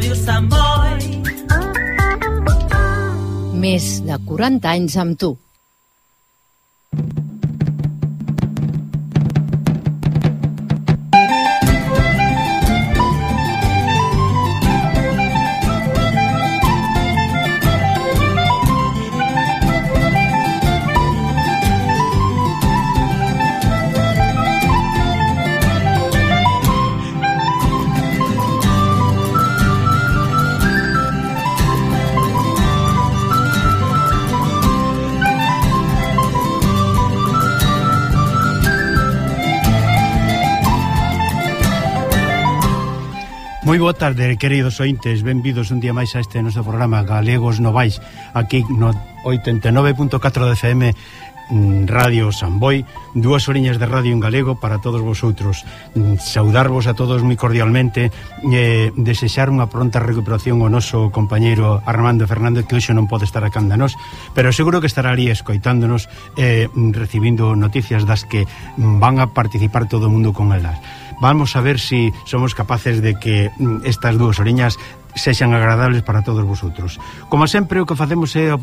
Ràdio Sant Boi. Més de 40 anys amb tu. Moi boa tarde, queridos ointes, benvidos un día máis a este noso programa Galegos Novais, aquí no 89.4 de FM Radio San Boi, 2 horiñas de radio en galego para todos vosotros. Saudarvos a todos moi cordialmente, desexar unha pronta recuperación ao noso compañeiro Armando Fernández, que hoxe non pode estar acá nós, pero seguro que estará ali escoitándonos, recibindo noticias das que van a participar todo o mundo con elas. Vamos a ver si somos capaces de que estas 2 horiñas sexan agradables para todos vosotros. Como sempre, o que facemos é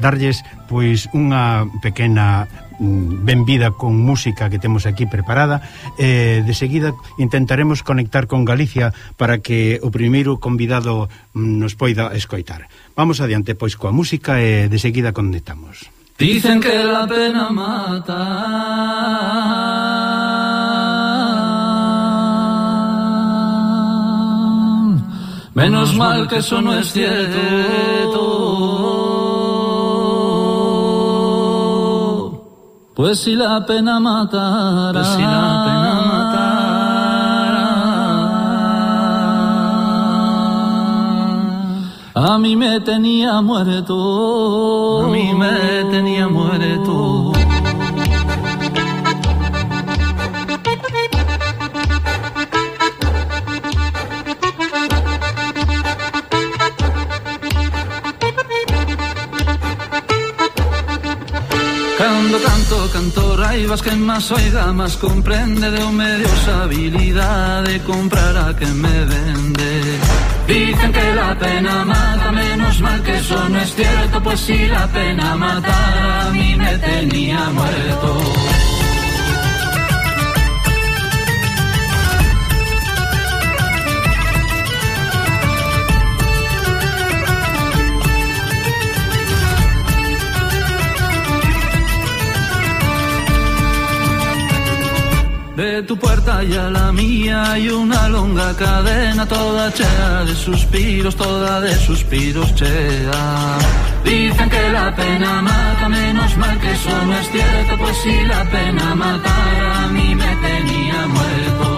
darlles pois unha pequena benvida con música que temos aquí preparada. De seguida intentaremos conectar con Galicia para que o primeiro convidado nos poida escoitar. Vamos adiante pois coa música e de seguida conectamos. Dicen que la pena mata, menos mal que eso no es cierto, pues si la pena matara, a mí me tenía muerto, a mí me tenía muerto. Cando canto raivas, que más oiga, más comprende, de un medio habilidad de comprar a que me vende. Dicen que la pena mata, menos mal que eso no es cierto, pues si la pena matara, a mí me tenía muerto. De tu puerta y a la mía hay una longa cadena, toda chea de suspiros, toda de suspiros chea. Dicen que la pena mata, menos mal que eso no es cierto, pues si la pena matara, a mí me tenía muerto.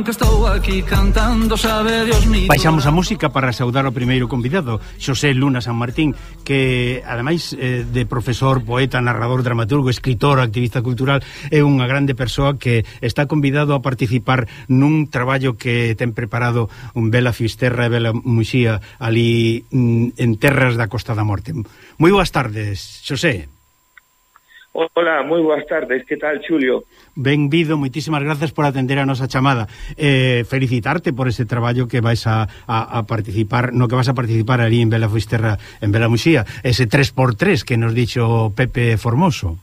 Que estou aquí cantando, sabe Dios mío. Baixamos a música para saudar o primeiro convidado, Xosé Luna San Martín, que ademais de profesor, poeta, narrador, dramaturgo, escritor, activista cultural, é unha grande persoa que está convidado a participar nun traballo que ten preparado un Bela Fisterra e Bela Muxía ali en terras da Costa da Morte. Moi boas tardes, Xosé. Hola, moi boas tardes, que tal, Xulio? Benvido, moitísimas grazas por atender a nosa chamada. Felicitarte por ese traballo que vais a participar, no que vas a participar ali en Bela Fisterra, en Bela Muxía, ese 3x3 que nos dixo Pepe Formoso.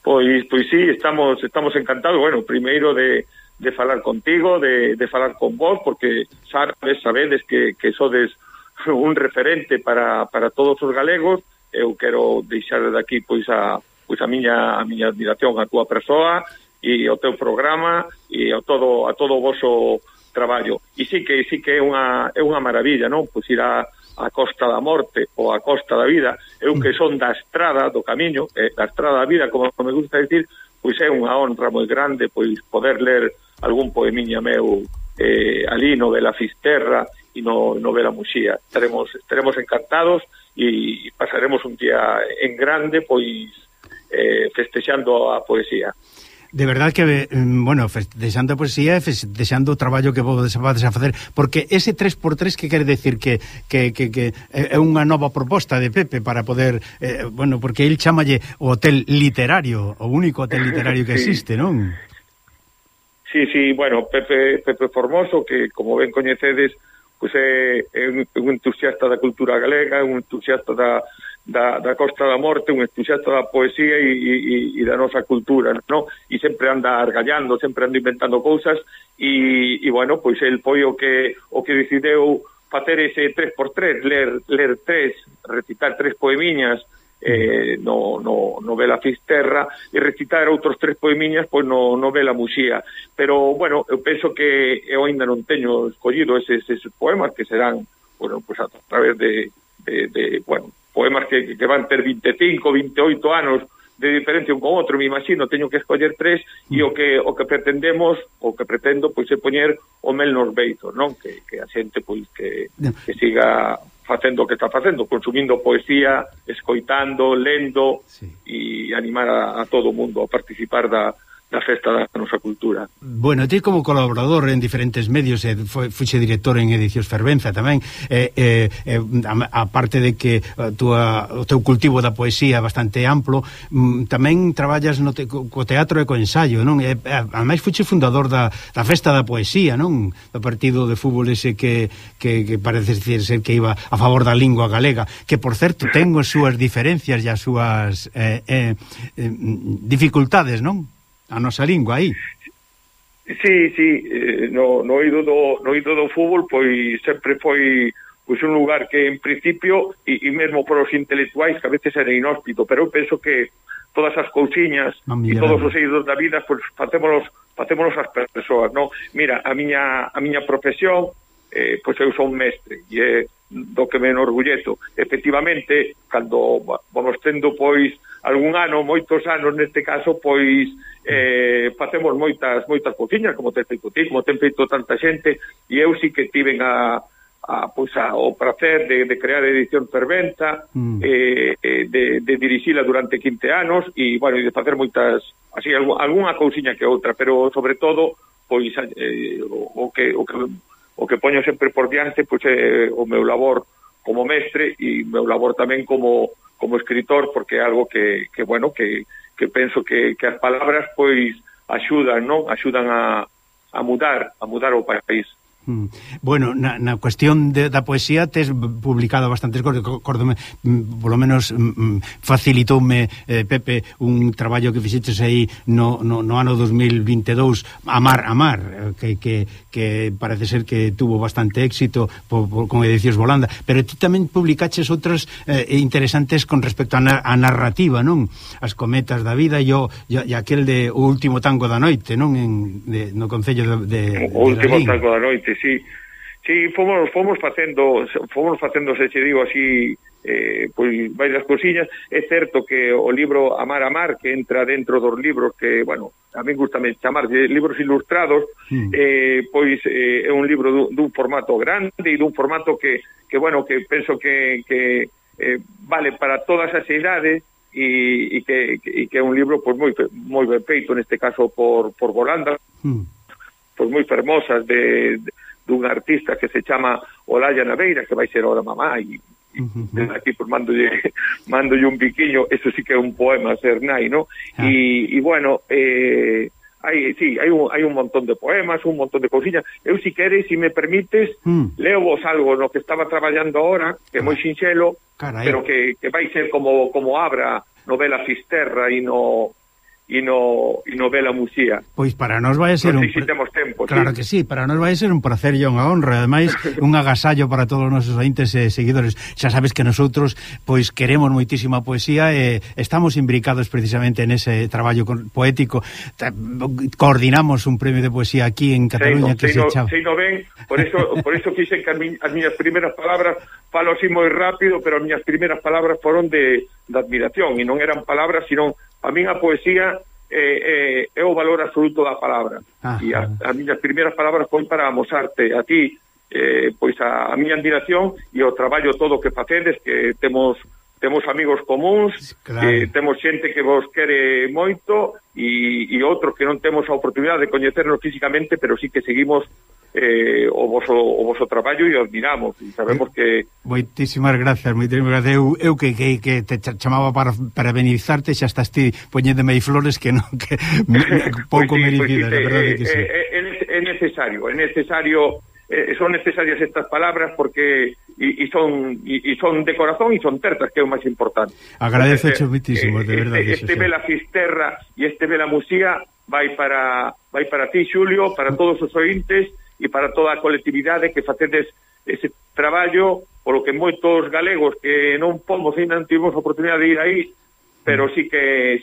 Pois sí, estamos encantados, bueno, primeiro de falar contigo, de falar con vos, porque sabedes que sodes un referente para todos os galegos. Eu quero deixar daqui pois a miña admiración á túa persoa e ao teu programa e a todo o voso traballo. E sí que é unha maravilla, non? Pois ir a Costa da Morte ou a Costa da Vida, eu que son da estrada do camiño, da estrada da vida, como me gusta decir, pois é unha honra moi grande pois poder ler algún poemiña meu ali no Vela Fisterra e no Vela Muxía. Estaremos encantados e pasaremos un día en grande, pois festexando a poesía. De verdad que, bueno, festexando a poesía e festexando o traballo que vos vades a facer, porque ese 3x3 que quere decir que é unha nova proposta de Pepe para poder, bueno, porque el chámalle o hotel literario, o único hotel literario que existe, non? Sí, bueno, Pepe Formoso, que como ben coñecedes, pois é un entusiasta da cultura galega, un entusiasta da Costa da Morte, un entusiasta da poesía e da nosa cultura, ¿no? E sempre anda argallando, sempre anda inventando cousas e bueno, pois el foi o que decideu facer ese 3x3, ler 3, recitar 3 poemiñas no Vela Fisterra e recitar outros 3 poemiñas pois no Vela Muxía. Pero, bueno, eu penso que eu ainda non teño escollido eses poemas que serán, bueno, pois a través de bueno, poemas que van ter 25, 28 anos de diferencia un con outro, me imagino, teño que escoller 3 e o que pretendo pois é poñer o mel nos beizos, non? Que a xente pois que siga facendo o que está facendo, consumindo poesía, escoitando, lendo e animar a todo o mundo a participar da festa da nosa cultura. Bueno, ti como colaborador en diferentes medios, fuxe director en Edicións Fervenza tamén, aparte de que o teu cultivo da poesía é bastante amplo, tamén traballas co teatro e co ensayo, non? Ademais fuxe fundador da festa da poesía, non? Do partido de fútbol ese que parece ser que iba a favor da lingua galega, que por certo ten as súas diferencias e as súas dificultades, non? A nosa lingua aí. Sí, no oído do fútbol pois sempre foi pois un lugar que en principio e mesmo por os intelectuais que a veces era inhóspito, pero eu penso que todas as cousiñas e todos os eidos da vida pois facémonos as persoas, non? Mira, a miña profesión pois eu son mestre e é do que me enorgullezo. Efectivamente, cando vamos tendo pois algún ano, moitos anos neste caso, pois facemos moitas cousiñas, como ten feito ti, como ten feito tanta xente, e eu sí que tiven o prazer de crear Edición Fervenza, de dirixila durante 15 anos, e, bueno, de facer moitas, así, algunha cousiña que outra, pero, sobre todo, pois, o que poño sempre por diante, pois, é o meu labor como mestre, e o meu labor tamén como escritor, porque é algo que penso que as palabras pois axudan, non? Axudan a mudar o país. Bueno, na cuestión da poesía tes publicado bastantes cousas, acórdome, polo menos facilitoume Pepe un traballo que fixeches aí no ano 2022, Amar, que parece ser que tuvo bastante éxito con Edicións Volanda, pero ti tamén publicaches outras interesantes con respecto á narrativa, non? As cometas da vida e aquel de O último tango da noite, non? No concello de O último tango da noite, sí, fomos facendo, se che digo así, pois varias cousiñas. É certo que o libro Amar, que entra dentro dos libros que, bueno, a mí gustame chamar de libros ilustrados, pois é un libro dun formato grande e dun formato que bueno, que penso que vale para todas as idades e que é un libro pois moi ben feito, neste caso por Volanda, pois moi fermosas dun artista que se chama Olaya Naveira, que vai ser ahora mamá, e aquí pues mandolle un piquiño, eso sí que é un poema Cernai, ¿no? E bueno, hai un montón de poemas, un montón de cousiñas. Eu, si queres, si me permites, leo vos algo no que estaba traballando ahora, que é moi sinxelo, pero que vai ser como abra novela Fisterra e no Vela Muxía. Pois para nós vai ser claro que sí, para nós vai ser un placer e unha honra, ademais un agasallo para todos os nosos ointes e seguidores. Xa sabes que nosotros pois queremos moitísima poesía e estamos imbricados precisamente en ese traballo poético. Coordinamos un premio de poesía aquí en Cataluña que se chama. Sei no ben, por eso quixen que as miñas primeiras palabras falo así moi rápido, pero as miñas primeiras palabras foron de admiración, e non eran palabras, sino a min a poesía é o valor absoluto da palabra. E as miñas primeiras palabras foi para amosarte a ti pois a miña admiración e o traballo todo que facedes, que temos amigos comuns, claro. Temos xente que vos quere moito e outros que non temos a oportunidade de coñecernos físicamente, pero sí que seguimos o voso traballo e o admiramos e sabemos que... Moitísimas gracias. Eu que te chamaba para benizarte, xa estás ti poñéndome aí flores que non que pouco pues merecidas, a verdade que sí. É necesario son necesarias estas palabras porque son de corazón e son certas, que é o máis importante. Agradezo muitísimo, de verdade. Este Vela Fisterra e este Vela Musía vai para ti, Xulio, para todos os ointes e para toda a colectividade que facedes ese traballo, polo que moitos galegos que non pomos e non tivemos a oportunidade de ir aí, pero sí que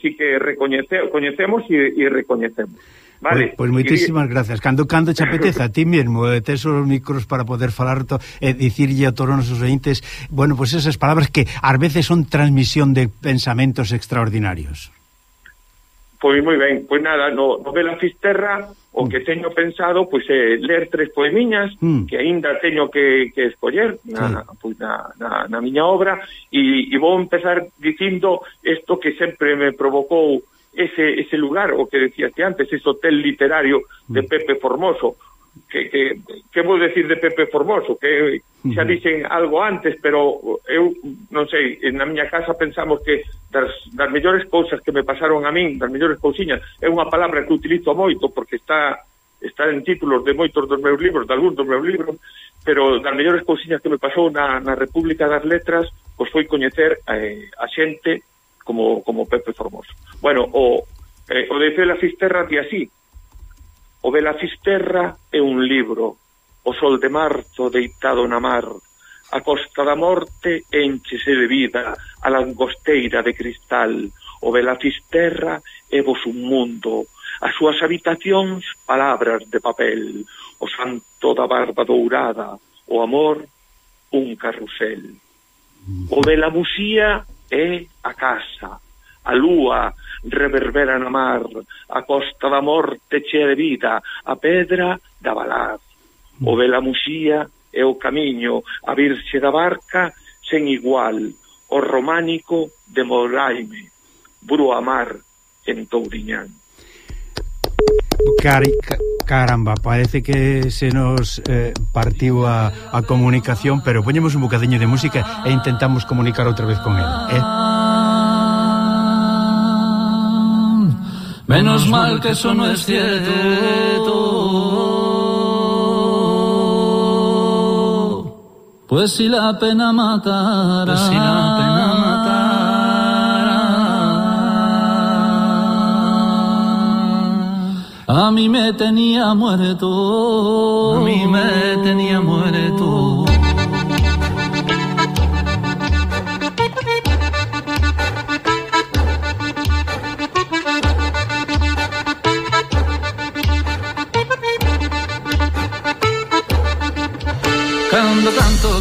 coñecemos e recoñecemos. Vale. Pois moitísimas gracias. Cando te apeteza a ti mesmo, tes os micros para poder falar e dicirlle a todos os nosos ointes, bueno, pois esas palabras que ás veces son transmisión de pensamentos extraordinarios. Pois moi ben, pois nada, no Vela Fisterra o que teño pensado pois é ler 3 poemiñas que aínda teño que escoller na miña obra e vou empezar dicindo isto que sempre me provocou ese lugar, o que decías antes, ese hotel literario de Pepe Formoso, que vou decir de Pepe Formoso, que xa dixen algo antes, pero eu non sei, na miña casa pensamos que das mellores cousas que me pasaron a min, das mellores cousiñas, é unha palabra que utilizo moito porque está en títulos de moitos dos meus libros, de algúns dos meus libros, pero das mellores cousiñas que me pasou na República das Letras, pois foi coñecer a xente como Pepe Formoso. Bueno, o de Vela Fisterra di así: o Vela Fisterra é un libro, o sol de marzo deitado na mar, a costa da morte enchese de vida, a langosteira de cristal. O Vela Fisterra é vos un mundo, as súas habitacións palabras de papel, o santo da barba dourada, o amor un carrusel. O Vela Musía é a casa, a lúa reverbera na mar, a costa da morte chea de vida, a pedra da Valaz. O Vela Musía é o camiño, a virxe da barca sen igual, o románico de Moraime, Buru Amar en Touriñán. Caramba, parece que se nos partiu a comunicación, pero poñemos un bocadiño de música e intentamos comunicar outra vez con él, Menos mal que eso no es cierto, pues si la pena matara, a mí me tenía muerto,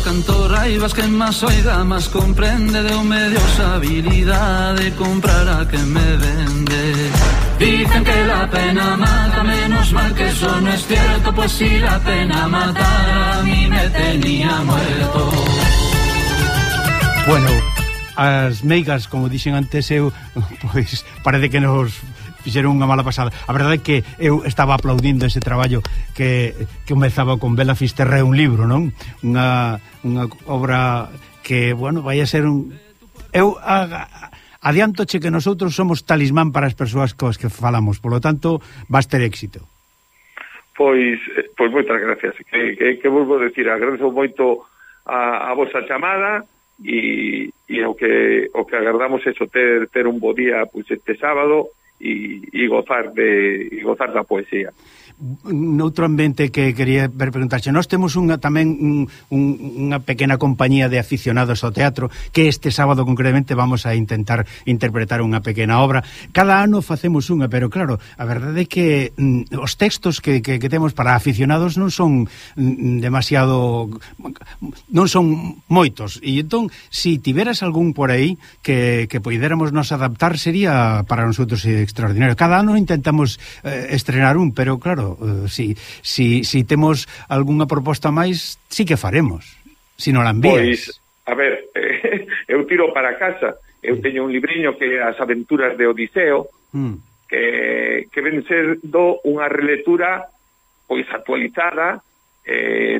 Canto raivas, que más oiga, más comprende, de un medio habilidad de comprar a que me vende. Dicen que la pena mata, menos mal que eso no es cierto, pues si la pena matara, a mí me tenía muerto. Bueno, as meigas, como dixen antes eu, pois parece que nos fixeron unha mala pasada. A verdade é que eu estaba aplaudindo ese traballo que comezaba con Vela Fisterra, é un libro, non? Unha obra que, bueno, vai a ser un... Eu adiantoche que nosotros somos talismán para as persoas cos que falamos, polo tanto, vas ter éxito. Pois moitas gracias. Que vos vou decir, agradezo moito a vosa chamada e o que agardamos é ter un bo día pois este sábado e gozar da poesía. noutro ambiente que quería preguntarche, nós temos unha pequena compañía de aficionados ao teatro que este sábado concretamente vamos a intentar interpretar unha pequena obra. Cada ano facemos unha, pero claro, a verdade é que os textos que temos para aficionados non son demasiado, non son moitos, e entón, si tiveras algún por aí que poidéramos nos adaptar, sería para nosotros extraordinario. Cada ano intentamos estrenar un, pero claro, si temos algunha proposta máis, sí que faremos, si non la envías. Pois, a ver, eu tiro para casa, eu teño un libriño que é As aventuras de Odiseo, que ven ser unha relectura pois actualizada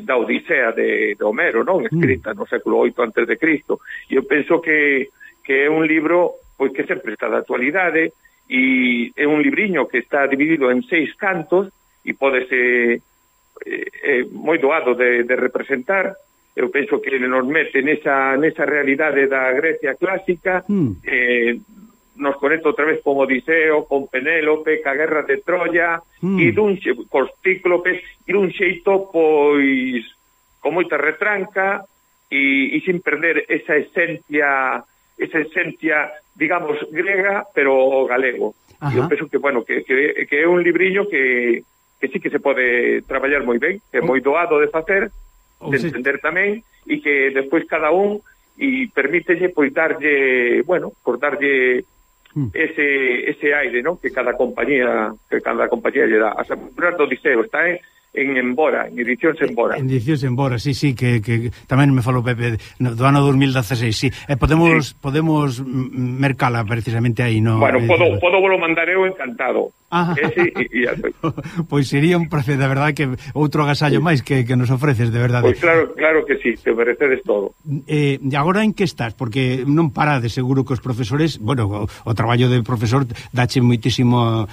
da Odisea de Homero, non? Escrita no século VIII antes de Cristo. E eu penso que é un libro pois que sempre está de actualidade, e é un libriño que está dividido en 6 cantos e pode ser moi doado de representar. Eu penso que nos mete nesa realidade da Grecia clásica, nos conecta outra vez con Odiseo, con Penélope, ca guerra de Troya, e cos cíclopes, e dun xeito, pois, con moita retranca, e sin perder esa esencia, digamos, grega, pero galego. E eu penso que, bueno, que é un libriño que sí que se pode traballar moi ben, que é moi doado de facer, de entender tamén, e que despois cada un e permítelle pois darlle, bueno, por darlle ese aire, ¿no?, que cada compañía lle dá. As aventuras do Odiseo está en Embora, en edicións Embora. En edicións Embora, sí, que tamén me falou Pepe do ano 2016, sí. Podemos mercala precisamente aí, no? Bueno, podo volo mandar eu encantado. Ese e ya foi. Pois sería un placer, de verdade, que outro agasallo máis que nos ofreces, de verdade. Pois claro que sí, te merecedes todo. E agora en que estás? Porque non parades, seguro que os profesores, bueno, o traballo de profesor dache moitísimo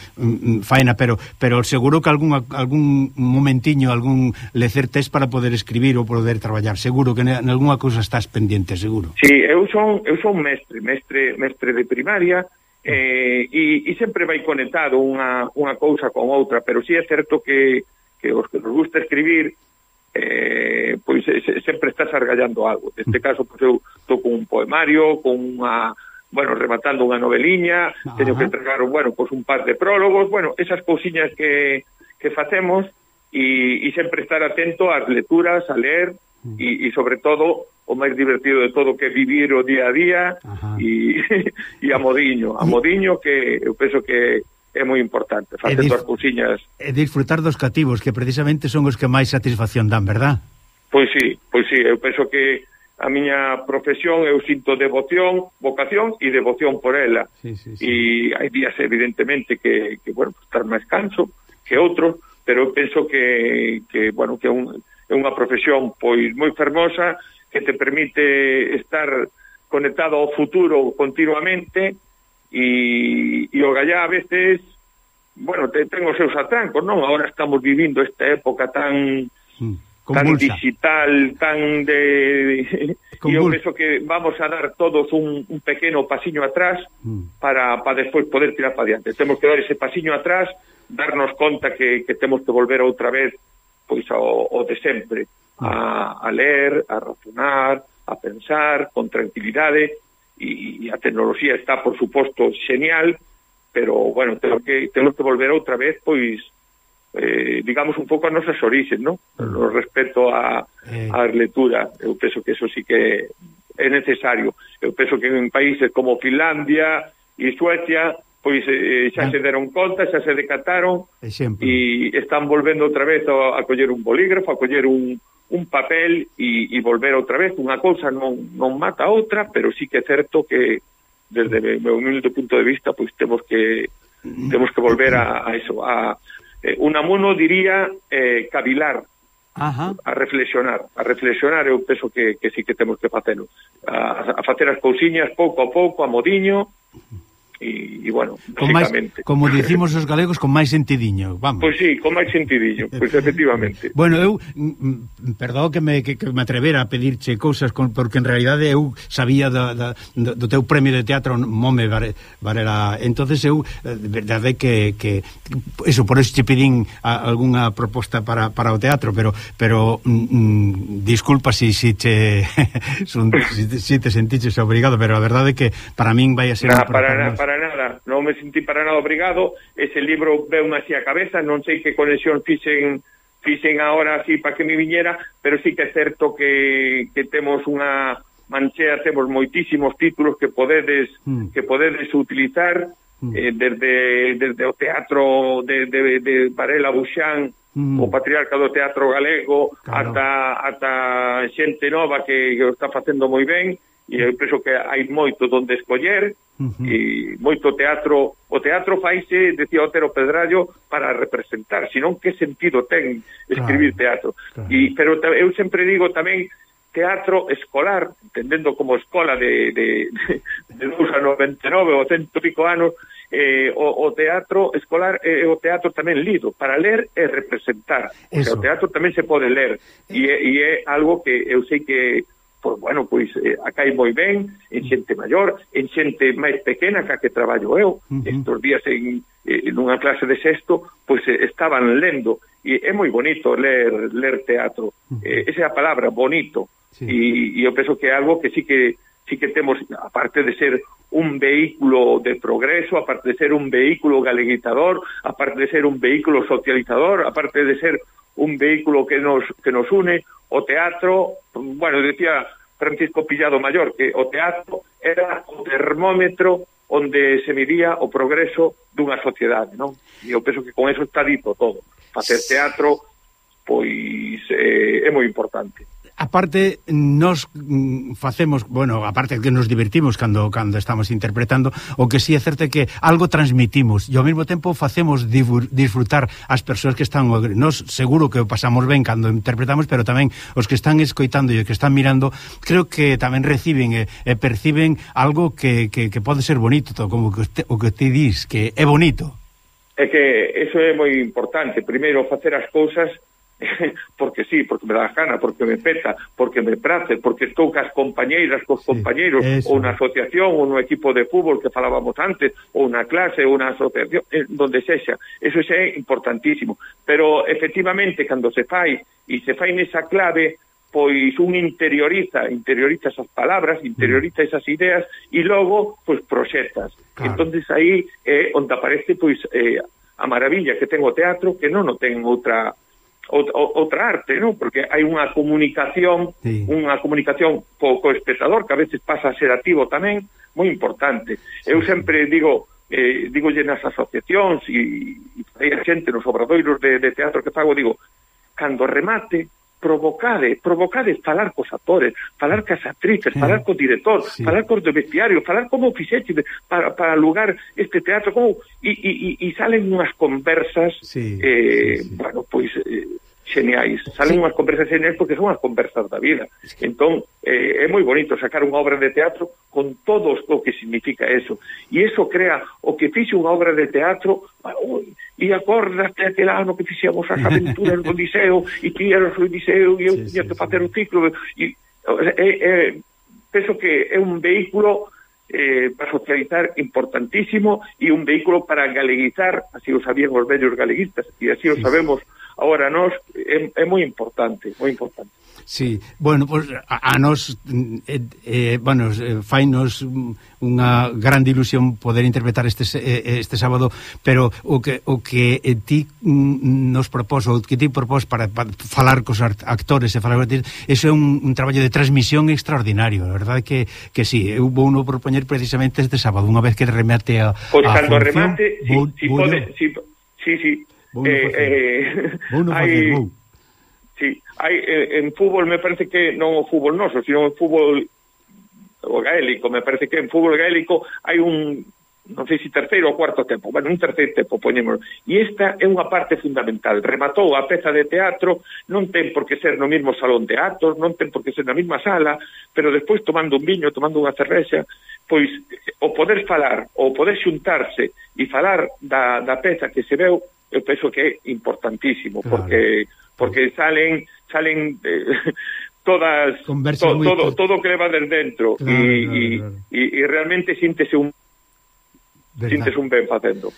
faena, pero seguro que algún momentiño, algún lecer tes para poder escribir ou poder traballar, seguro que en algunha cousa estás pendiente, seguro. Sí, eu son mestre de primaria, e sempre vai conectado unha cousa con outra, pero sí é certo que os que nos gusta escribir pois sempre estás argallando algo. Neste caso, pois eu estou con un poemario, rematando unha noveliña, teño que entregar, pois un par de prólogos, esas cousiñas que facemos, e sempre estar atento ás lecturas, a ler, e sobre todo o máis divertido de todo, que é vivir o día a día, e a modiño, que eu penso que é moi importante, facendo as cousiñas. E disfrutar dos cativos, que precisamente son os que máis satisfacción dan, verdad? Pois sí, eu penso que a miña profesión eu sinto vocación e devoción por ela. Sí. E hai días, evidentemente, que estar máis canso que outros, pero eu penso que é unha profesión pois moi fermosa, que te permite estar conectado ao futuro continuamente, e o gallá a veces, ten os seus atrancos, non? Ahora estamos vivindo esta época tan digital, tan de... E eu penso que vamos a dar todos un pequeno pasiño atrás para despois poder tirar para diante. Temos que dar ese pasiño atrás, darnos conta que temos que volver outra vez pois ao de sempre, a ler, a razonar, a pensar con tranquilidade, e a tecnoloxía está, por suposto, genial, pero, temos que volver outra vez, pois, digamos, un pouco a nosas orixes, non? No respecto a lectura. Eu penso que eso sí que é necesario. Eu penso que en países como Finlandia e Suecia, pois xa se deron conta, xa se decataron, e están volvendo outra vez a coller un bolígrafo, a coller un papel, e volver outra vez. Unha cousa non mata a outra, pero sí que é certo que, desde o meu humilde punto de vista, pois temos que volver a eso, a Unamuno diría cavilar, a reflexionar. Eu penso que sí que temos que facelo, a facer as cousiñas pouco a pouco, a modiño, e bueno, con basicamente. Como dicimos os galegos, con máis sentidiño, vamos. Pois sí, con máis sentidiño, pois efectivamente. Bueno, eu perdón que me atrevera a pedirche cousas porque en realidade eu sabía do teu premio de teatro Mome Varela, entonces eu verdade que eso, por eso te pedín algunha proposta para o teatro, pero disculpa si te sentiches obrigado, pero a verdade é que para min vai a ser para nada, non me sentí para nada obrigado. Ese libro veume así a cabeza, non sei que conexión fixen agora así para que me viñera, pero sí que é certo que temos unha manchea, temos moitísimos títulos que podedes utilizar, desde o teatro de Varela Buxán, o patriarca do teatro galego, claro, ata xente nova que o está facendo moi ben, e eu penso que hai moito donde escoller, e moito teatro. O teatro faise, decía Otero Pedrallo, para representar, senón que sentido ten escribir teatro. Claro. Pero eu sempre digo tamén teatro escolar, entendendo como escola de 2 a 99 ou 100 e pico anos, o teatro escolar é o teatro tamén lido, para ler e representar. O sea, o teatro tamén se pode ler, e é algo que eu sei que acá hai moi ben en xente maior, en xente máis pequena que traballo eu. Estos días en unha clase de sexto, pois estaban lendo, e é moi bonito ler teatro. Esa é a palabra, bonito. Sí. E eu penso que é algo que sí que temos, aparte de ser un vehículo de progreso, aparte de ser un vehículo galeguizador, aparte de ser un vehículo socializador, aparte de ser un vehículo que nos une, o teatro, bueno, decía Francisco Pillado Mayor que o teatro era o termómetro onde se midía o progreso dunha sociedade, non? E eu penso que con eso está dito todo. Facer teatro, pois, é moi importante. Aparte, nos facemos, bueno, aparte que nos divertimos cando estamos interpretando, o que sí é certo é que algo transmitimos e ao mesmo tempo facemos disfrutar as persoas que están, nos seguro que o pasamos ben cando interpretamos, pero tamén os que están escoitando e os que están mirando, creo que tamén reciben e perciben algo que pode ser bonito, como o que te dis, que é bonito. É que eso é moi importante, primeiro facer as cousas porque sí, porque me dá gana, porque me peta, porque me prace, porque estou cas compañeiras, cos compañeiros, ou na asociación, ou no equipo de fútbol que falábamos antes, ou na clase, ou na asociación, donde sexa. Eso xa é importantísimo. Pero, efectivamente, cando se fai, e se fai nesa clave, pois un interioriza esas palabras, interioriza esas ideas, e logo, pois, proxectas. Claro. Entonces aí é onde aparece, pois, a maravilla que ten o teatro, que non o ten outra arte, ¿no? Porque hai unha comunicación, co espectador, que a veces pasa a ser activo tamén, moi importante. Eu sempre digolle nas asociacións e hai a xente nos obradoiros de teatro que fago, digo, cando remate, provocade falar cos actores, falar cas actrices, falar co director, falar cos do vestiario, falar como fixeche para lugar este teatro, como e salen unhas conversas bueno, pois geniais, salen unhas conversas geniais porque son as conversas da vida. Entón, é moi bonito sacar unha obra de teatro con todo o que significa eso, e eso crea o que fixe unha obra de teatro. E acordaste aquel ano que fixemos as aventuras do Liceo, e ti eras o Liceo e eu tiña que facer o ciclo, e penso que é un vehículo para socializar importantísimo, e un vehículo para galeguizar, así o sabían os vellos galeguistas, e así o sabemos agora nós, é moi importante, moi importante. Sí, bueno, pues a nos fainos unha grande ilusión poder interpretar este sábado, pero o que ti nos propós, o que ti propós para falar cos actores e falar, eso é un traballo de transmisión extraordinario, a verdade que sí, eu vou no propoñer precisamente este sábado, unha vez que remate a pois cando remate, sí. Hai en fútbol, me parece que non o fútbol noso, sino o fútbol gaélico, me parece que en fútbol gaélico hai un non sei se terceiro ou cuarto tempo, bueno, un terceiro tempo, poñémoslo. E esta é unha parte fundamental. Rematou a peza de teatro, non ten por que ser no mesmo salón de actos, non ten por que ser na mesma sala, pero despois tomando un viño, tomando unha cervexa, pois o poder falar, o poder xuntarse e falar da peza que se veu, eu penso que é importantísimo, claro, porque salen todas todo o que leva desde dentro, claro, e realmente síntese un ben facendo.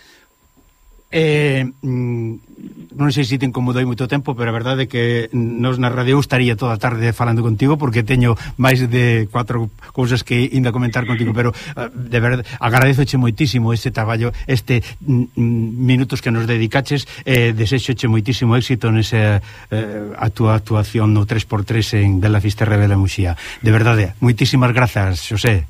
Non sei se te incomodou moito tempo, pero a verdade é que nos na radio estaría toda a tarde falando contigo, porque teño máis de 4 cousas que ainda comentar contigo, pero de verdade agradezoche moitísimo este traballo, minutos que nos dedicaches, desexoche moitísimo éxito nesa a túa actuación no 3x3 en Bela Fisterra Bela Muxía. De verdade, moitísimas grazas, Xosé.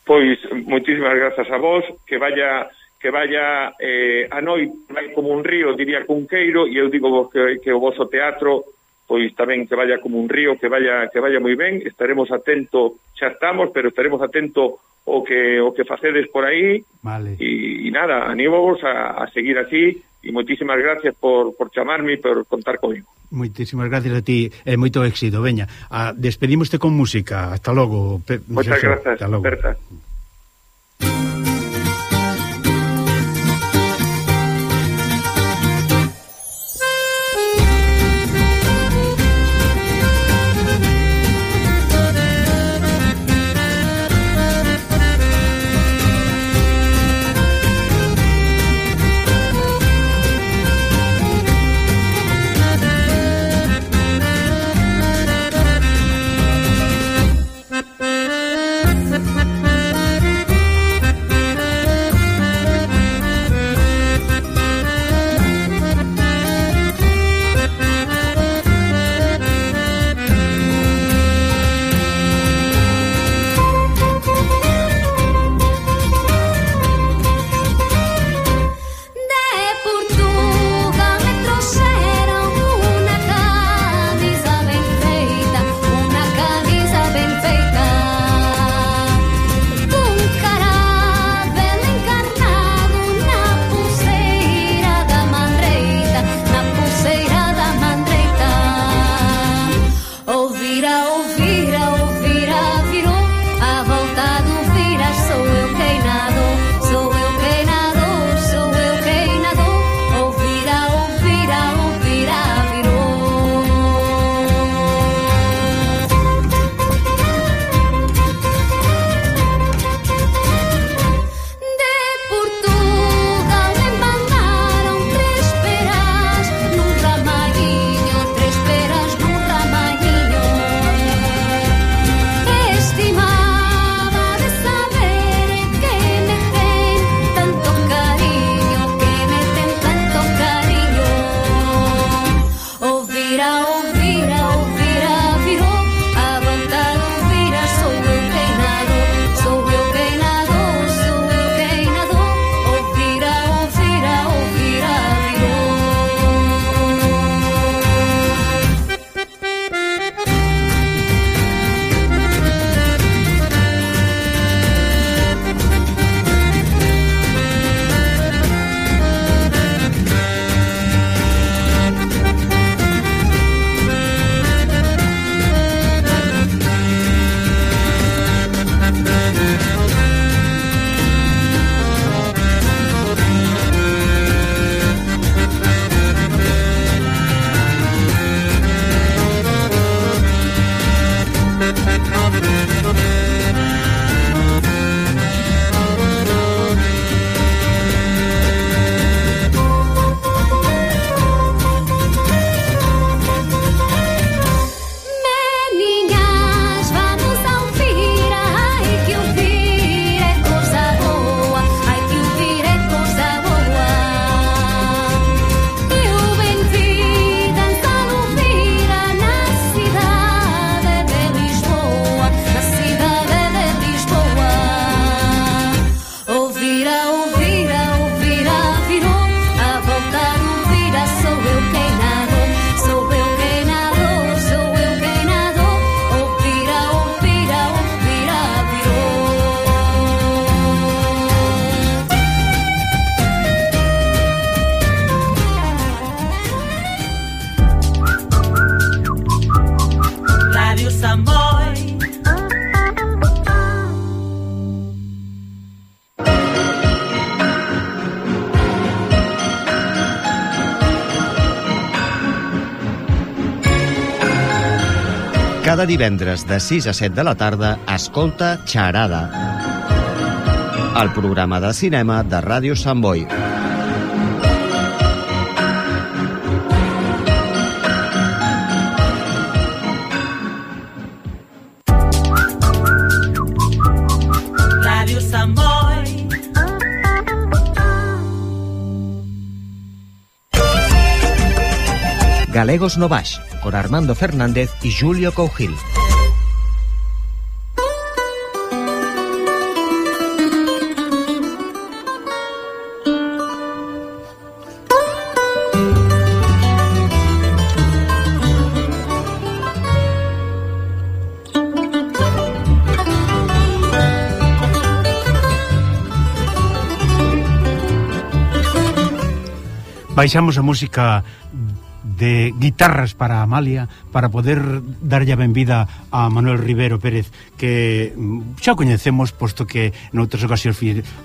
Pois moitísimas grazas a vos, que vaya a noite vai como un río, diría Cunqueiro, e eu digo vos que o vosso teatro pois tamén que vaya como un río, que vaya moi ben. Estaremos atentos, xa estamos, pero estaremos atentos o que facedes por aí. Vale. E nada, anímovos a seguir así, e moitísimas gracias por chamarme e por contar comigo. Moitísimas gracias a ti, moito éxito. Veña, despedimoste con música. Hasta logo. Moitas grazas, Berta. Samboy. Cada divendres de 6 a 7 de la tarda escolta Xarada, el programa de cinema de Ràdio Sant Boi. Ràdio Sant Boi. Galegos no Baix, con Armando Fernández y Julio Cougil. Baixamos a música de guitarras para Amalia para poder darlle a benvida a Manuel Rivero Pérez, que xa coñecemos, posto que noutras ocasións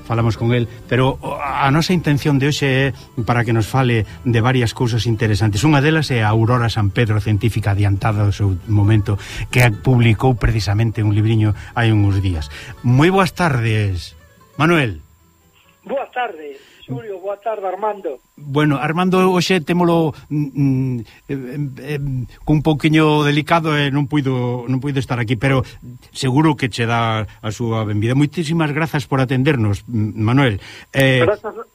falamos con el, pero a nosa intención de hoxe é para que nos fale de varias cousas interesantes. Unha delas é a Aurora San Pedro, científica adiantada do seu momento, que publicou precisamente un libriño hai uns días. Moi boas tardes, Manuel. Boas tardes, Xulio, boa tarde, Armando. Bueno, Armando, hoxe témolo cun pouquiño delicado e non puido estar aquí, pero seguro que che dá a súa benvida. Moitísimas grazas por atendernos, Manuel.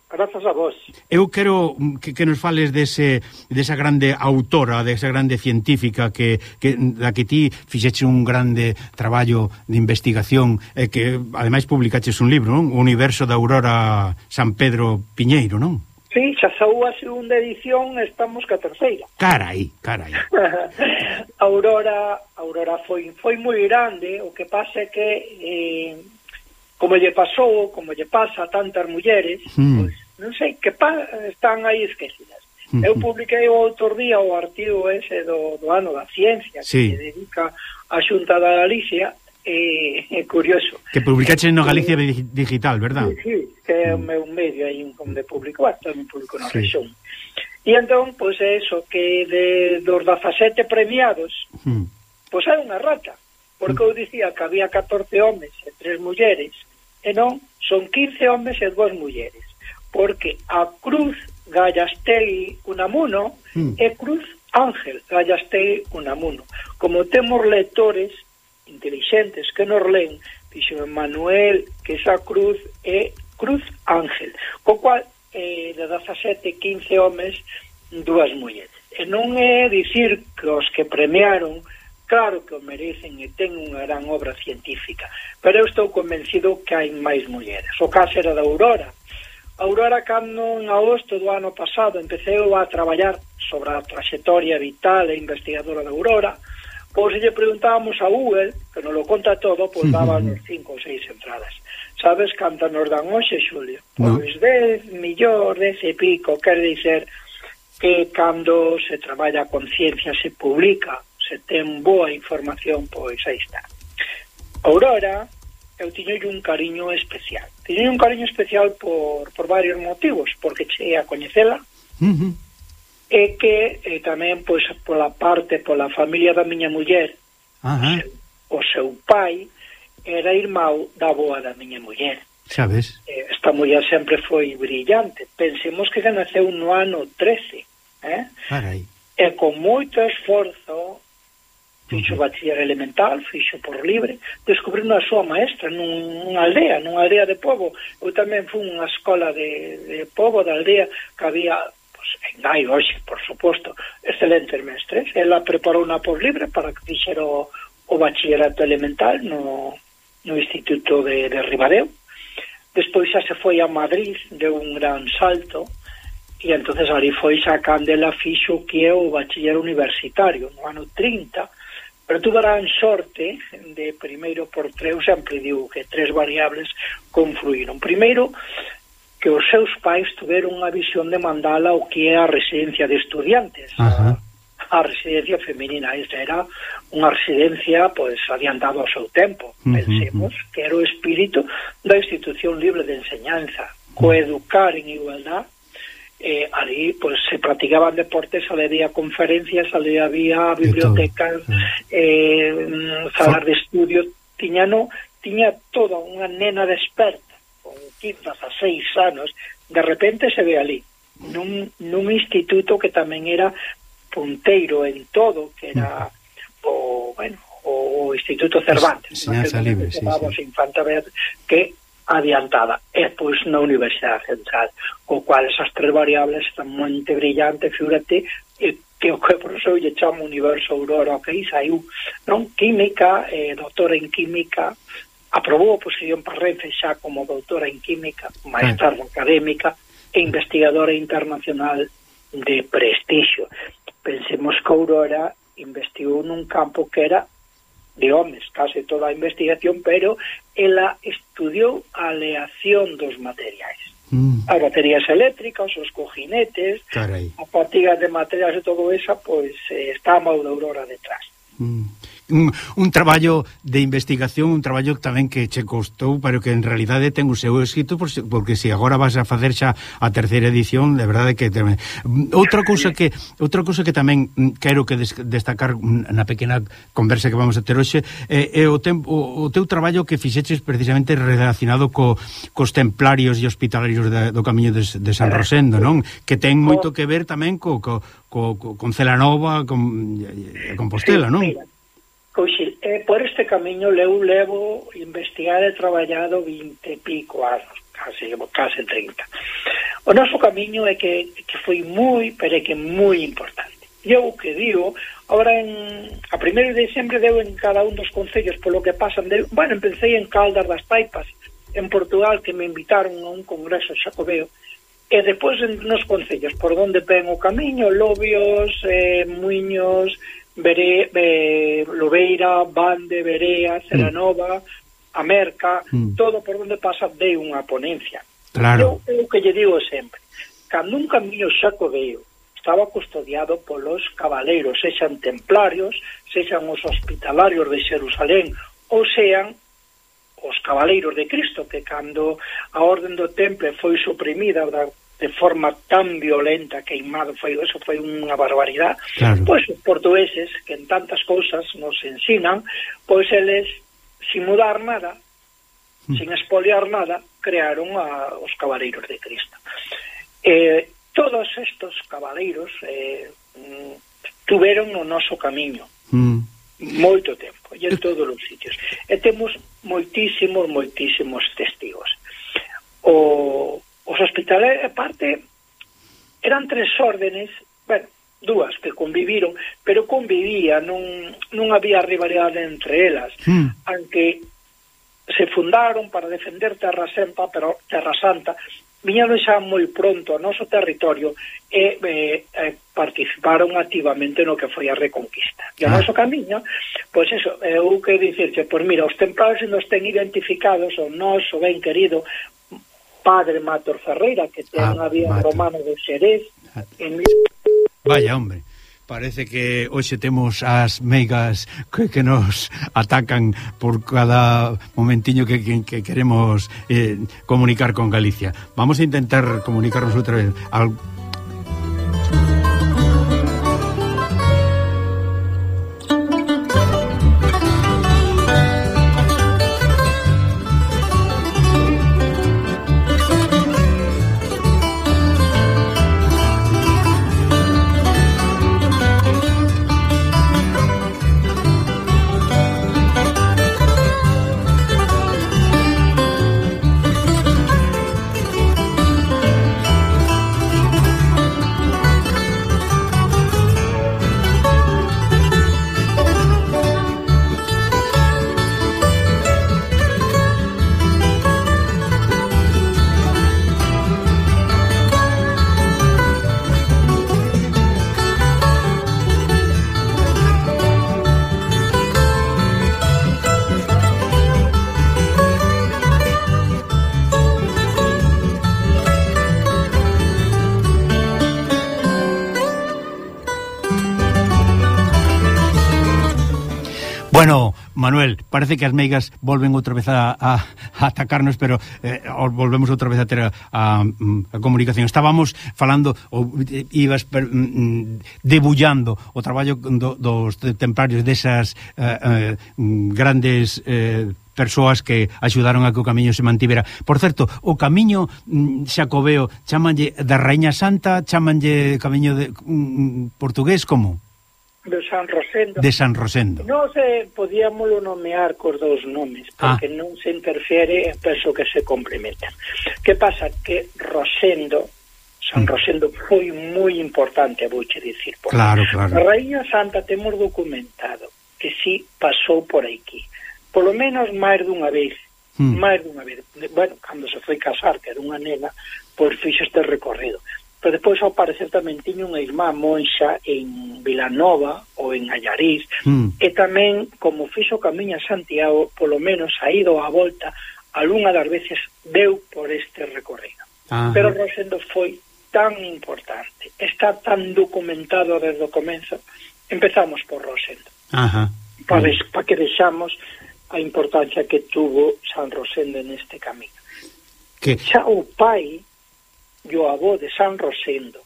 Grazas a vos. Eu quero que nos fales desa grande autora, desa grande científica da que ti fixeche un grande traballo de investigación e que ademais publicaches un libro, non? O universo da Aurora San Pedro Piñeiro, non? Sí, xa saú a segunda edición, estamos ca terceira. Carai. Aurora foi moi grande, o que pasa é que como lle pasa a tantas mulleres, pois non sei, que están aí esquecidas. Eu publiquei o outro día o artigo ese do ano da ciencia, que se dedica a Xunta da Galicia, é curioso. Que publicaches no Galicia Digital, verdad? Sí, que é o meu medio aí onde publico, tamén publico na rexión. E entón, pois é eso, que dos 17 premiados, pois hai unha rata, porque eu dicía que había 14 homes e 3 mulleres, e non, son 15 homes e 2 mulleres, porque a Cruz Gallastei Unamuno é Cruz Ángel Gallastei Unamuno. Como temos lectores intelixentes que nos leen, dixo Manuel que esa cruz é Cruz Ángel, co cual de 17, 15 homes, 2 mulleres. E non é dicir que os que premiaron, claro que o merecen e ten unha gran obra científica, pero eu estou convencido que hai máis mulleres. O caso era da Aurora. Aurora, cando en agosto do ano pasado empeceu a traballar sobre a trayectoria vital e investigadora da Aurora, pois se lle preguntábamos a Google, que nos lo conta todo, pois dábanos 5 ou 6 entradas. Sabes canta nos dan hoxe, Xulio? Pois 10 millóns, 10 e pico, quer dizer que cando se traballa con ciencia, se publica, se ten boa información, pois aí está. Aurora, eu tiño un cariño especial. Tiño un cariño especial por varios motivos, porque cheguei a coñecela, e que tamén, pois, pola familia da miña muller, o seu pai era irmão da avoa da miña muller. Sabes? Esta muller sempre foi brillante. Pensemos que naceu no ano 13, Carai. E con moito esforzo fixo bachiller elemental, fixo por libre, descubrindo a súa maestra nunha aldea de pobo. Eu tamén fui unha escola de pobo, da aldea, que había en Gai, hoxe, por suposto, excelentes mestres. Ela preparou unha por libre para que fixera o bachillerato elemental no Instituto de Ribadeo. Despois xa se foi a Madrid, deu un gran salto, e entonces ali foi xa cando ela fixo que é o bachiller universitario no ano 30, pero tuvo gran sorte de primeiro por tres, eu sempre digo que 3 variables confluíron. Primeiro, que os seus pais tuveron unha visión de mandala o que é a residencia de estudiantes, a residencia femenina. Esta era unha residencia pois adiantada ao seu tempo. Pensemos que era o espírito da institución libre de enseñanza, coeducar en igualdad. Ali pois se practicaban deportes, ali había conferencias, ali había bibliotecas, salas de estudio. Tiña toda unha nena desperta con 15 a 6 anos, de repente se ve ali nun instituto que tamén era punteiro en todo, que era o Instituto Cervantes, Enseñanza libre, Infanta Beatriz, que adiantada, e pois na Universidade Central, co cual esas tres variables están moi brillantes, figúrate, que o que por eso lle chama Universo Aurora, que aí saiu, non? Química, doutora en Química, aprobou a posición para Renfe xa como doutora en Química, maestra académica e investigadora internacional de prestixio. Pensemos que Aurora investigou nun campo que era de homes, case toda a investigación, pero ela estudiou a aleación dos materiais. As baterías eléctricas, os cojinetes, a partidas de materiais e todo eso, pois está a mão de Aurora detrás. Un traballo de investigación, un traballo tamén que che costou, pero que en realidade ten o seu éxito, porque se agora vas a facer xa a terceira edición, de verdade que outra cousa que tamén quero que destacar na pequena conversa que vamos a ter hoxe é o teu traballo que fixeches precisamente relacionado cos templarios e hospitalarios do Camiño de San Rosendo, non? Que ten moito que ver tamén con Celanova, con Compostela, non? Por este camiño levo investigado e traballado 20 e pico anos, case 30. O noso camiño é que foi moi, pero é que moi importante. Eu o que digo, agora a 1 de diciembre deu en cada un dos concellos polo que pasan empecé en Caldas das Paipas, en Portugal, que me invitaron a un congreso xacobeo, e depois nos concellos por onde ven o camiño, Lobios, Muiños, Lobeira, Bande, Berea, Celanova, a Merca, todo por onde pasa de unha ponencia. Claro. Eu que lle digo sempre, cando un camiño xacobeo estaba custodiado polos cabaleiros, sexan templarios, sexan os hospitalarios de Xerusalén, ou sean os cabaleiros de Cristo, que cando a orden do Temple foi suprimida de forma tan violenta, queimado, eso foi unha barbaridade, claro. Pois os portugueses, que en tantas cousas nos ensinan, pois eles, sin mudar nada, sin expoliar nada, crearon os cabaleiros de Cristo. Todos estos cabaleiros tuveron o noso camiño moito tempo, e en todos os sitios, e temos moitísimos testigos. Os hospitales, aparte, eran 3 órdenes, dúas que conviviron, pero non había rivalidade entre elas, aunque se fundaron para defender Terra Santa, viñeron xa moi pronto ao noso territorio e participaron activamente no que foi a Reconquista. E o noso camiño, pois eso, eu que dicirche, pois mira, os templarios nos ten identificados o noso ben querido Padre Mator Ferreira, que ten a vía romana de Xerez. Vaya, hombre. Parece que hoxe temos as meigas que nos atacan por cada momentiño que queremos comunicar con Galicia. Vamos a intentar comunicarnos outra vez. Bueno, Manuel, parece que as meigas volven outra vez a atacarnos, pero volvemos outra vez a ter a comunicación. Estábamos falando, ou ibas debullando o traballo dos templarios desas grandes persoas que axudaron a que o camiño se mantivera. Por certo, o camiño xacobeo chamanlle da Raíña Santa, chamanlle camiño de portugués, como? De San Rosendo. De San Rosendo. Non se podíamolo nomear cos dous nomes, porque non se interfiere, penso que se complementan. Que pasa? Que Rosendo, San Rosendo foi moi importante, vouche dicir. Claro, claro. A Raíña Santa temos documentado que sí pasou por aquí. Polo menos máis dunha vez. Máis dunha vez. Bueno, cando se foi casar, que era unha nena, pois fixo este recorrido. Pero depois, ao parecer, tamén tiña unha irmá monxa en Vilanova ou en Allariz, e tamén, como fixo o camiño a Santiago, polo menos a ida ou a volta, algunha das veces deu por este recorrido. Pero Rosendo foi tan importante, está tan documentado desde o comenzo. Empezamos por Rosendo. Para que vexamos a importancia que tuvo San Rosendo neste camiño. Xa o pai e o avó de San Rosendo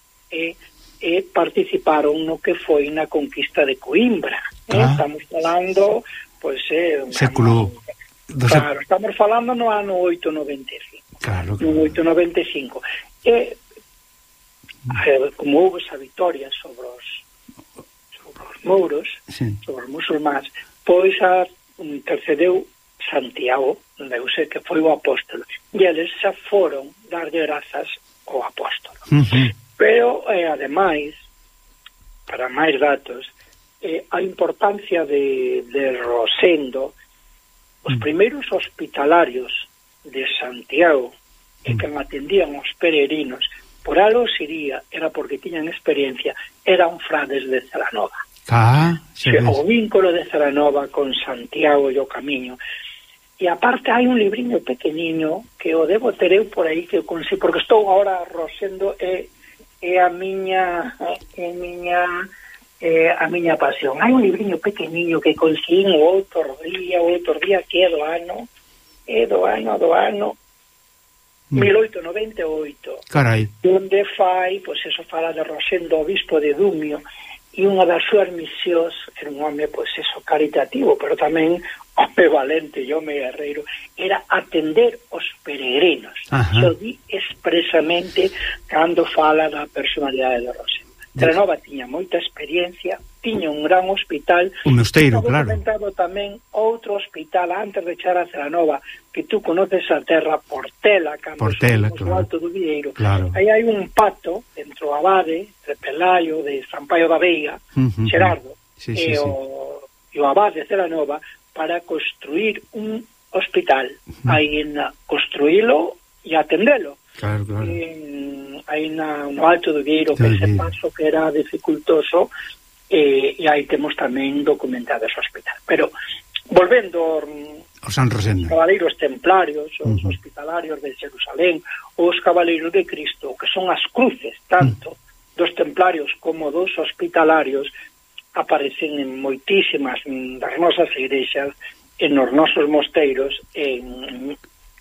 participaron no que foi na conquista de Coimbra. Estamos falando século claro, estamos falando no ano 895. Claro. No 895. Como houve esa victoria sobre os mouros, sobre os musulmáns, pois intercedeu Santiago, deuse que foi o apóstolo, e eles xa foron darlle grazas ao apóstolo. Pero, ademais, para máis datos, a importancia de Rosendo, os primeiros hospitalarios de Santiago, que atendían os peregrinos, por algo sería, era porque tiñan experiencia, eran frades de Celanova. O vínculo de Celanova con Santiago e o camiño. E aparte hai un libriño pequeniño que o debo ter eu por aí, que consigo, porque estou agora Rosendo é a miña pasión. Hai un libriño pequeniño que conseguí outro día que é do ano 1898. Carai. Onde fai, pois eso, fala de Rosendo, obispo de Dumio, e unha das súas misións era un home, pois eso, caritativo, pero tamén home valente e home guerreiro, era atender os peregrinos. Xo di expresamente cando fala da personalidade de Rosendo. Celanova tiña moita experiencia, tiña un gran hospital, un mosteiro, claro. Comentado tamén outro hospital antes de echar a Celanova, que tú conoces a terra, Portela, cando somos no Alto do Vieiro. Aí hai un pacto entre o abade, entre Pelayo de San Paio da Veiga, Xerardo, e o abade de Celanova, para construir un hospital. Aí construílo e atendelo. Claro. Aí no Alto do Vieiro, que ese paso que era dificultoso, e aí temos tamén documentado ese hospital. Pero, volvendo os San Rosendo, os cabaleiros templarios, os hospitalarios de Jerusalén, os cabaleiros de Cristo, que son as cruces, tanto dos templarios como dos hospitalarios, aparecen en moitísimas das nosas igrexas, en os nosos mosteiros, e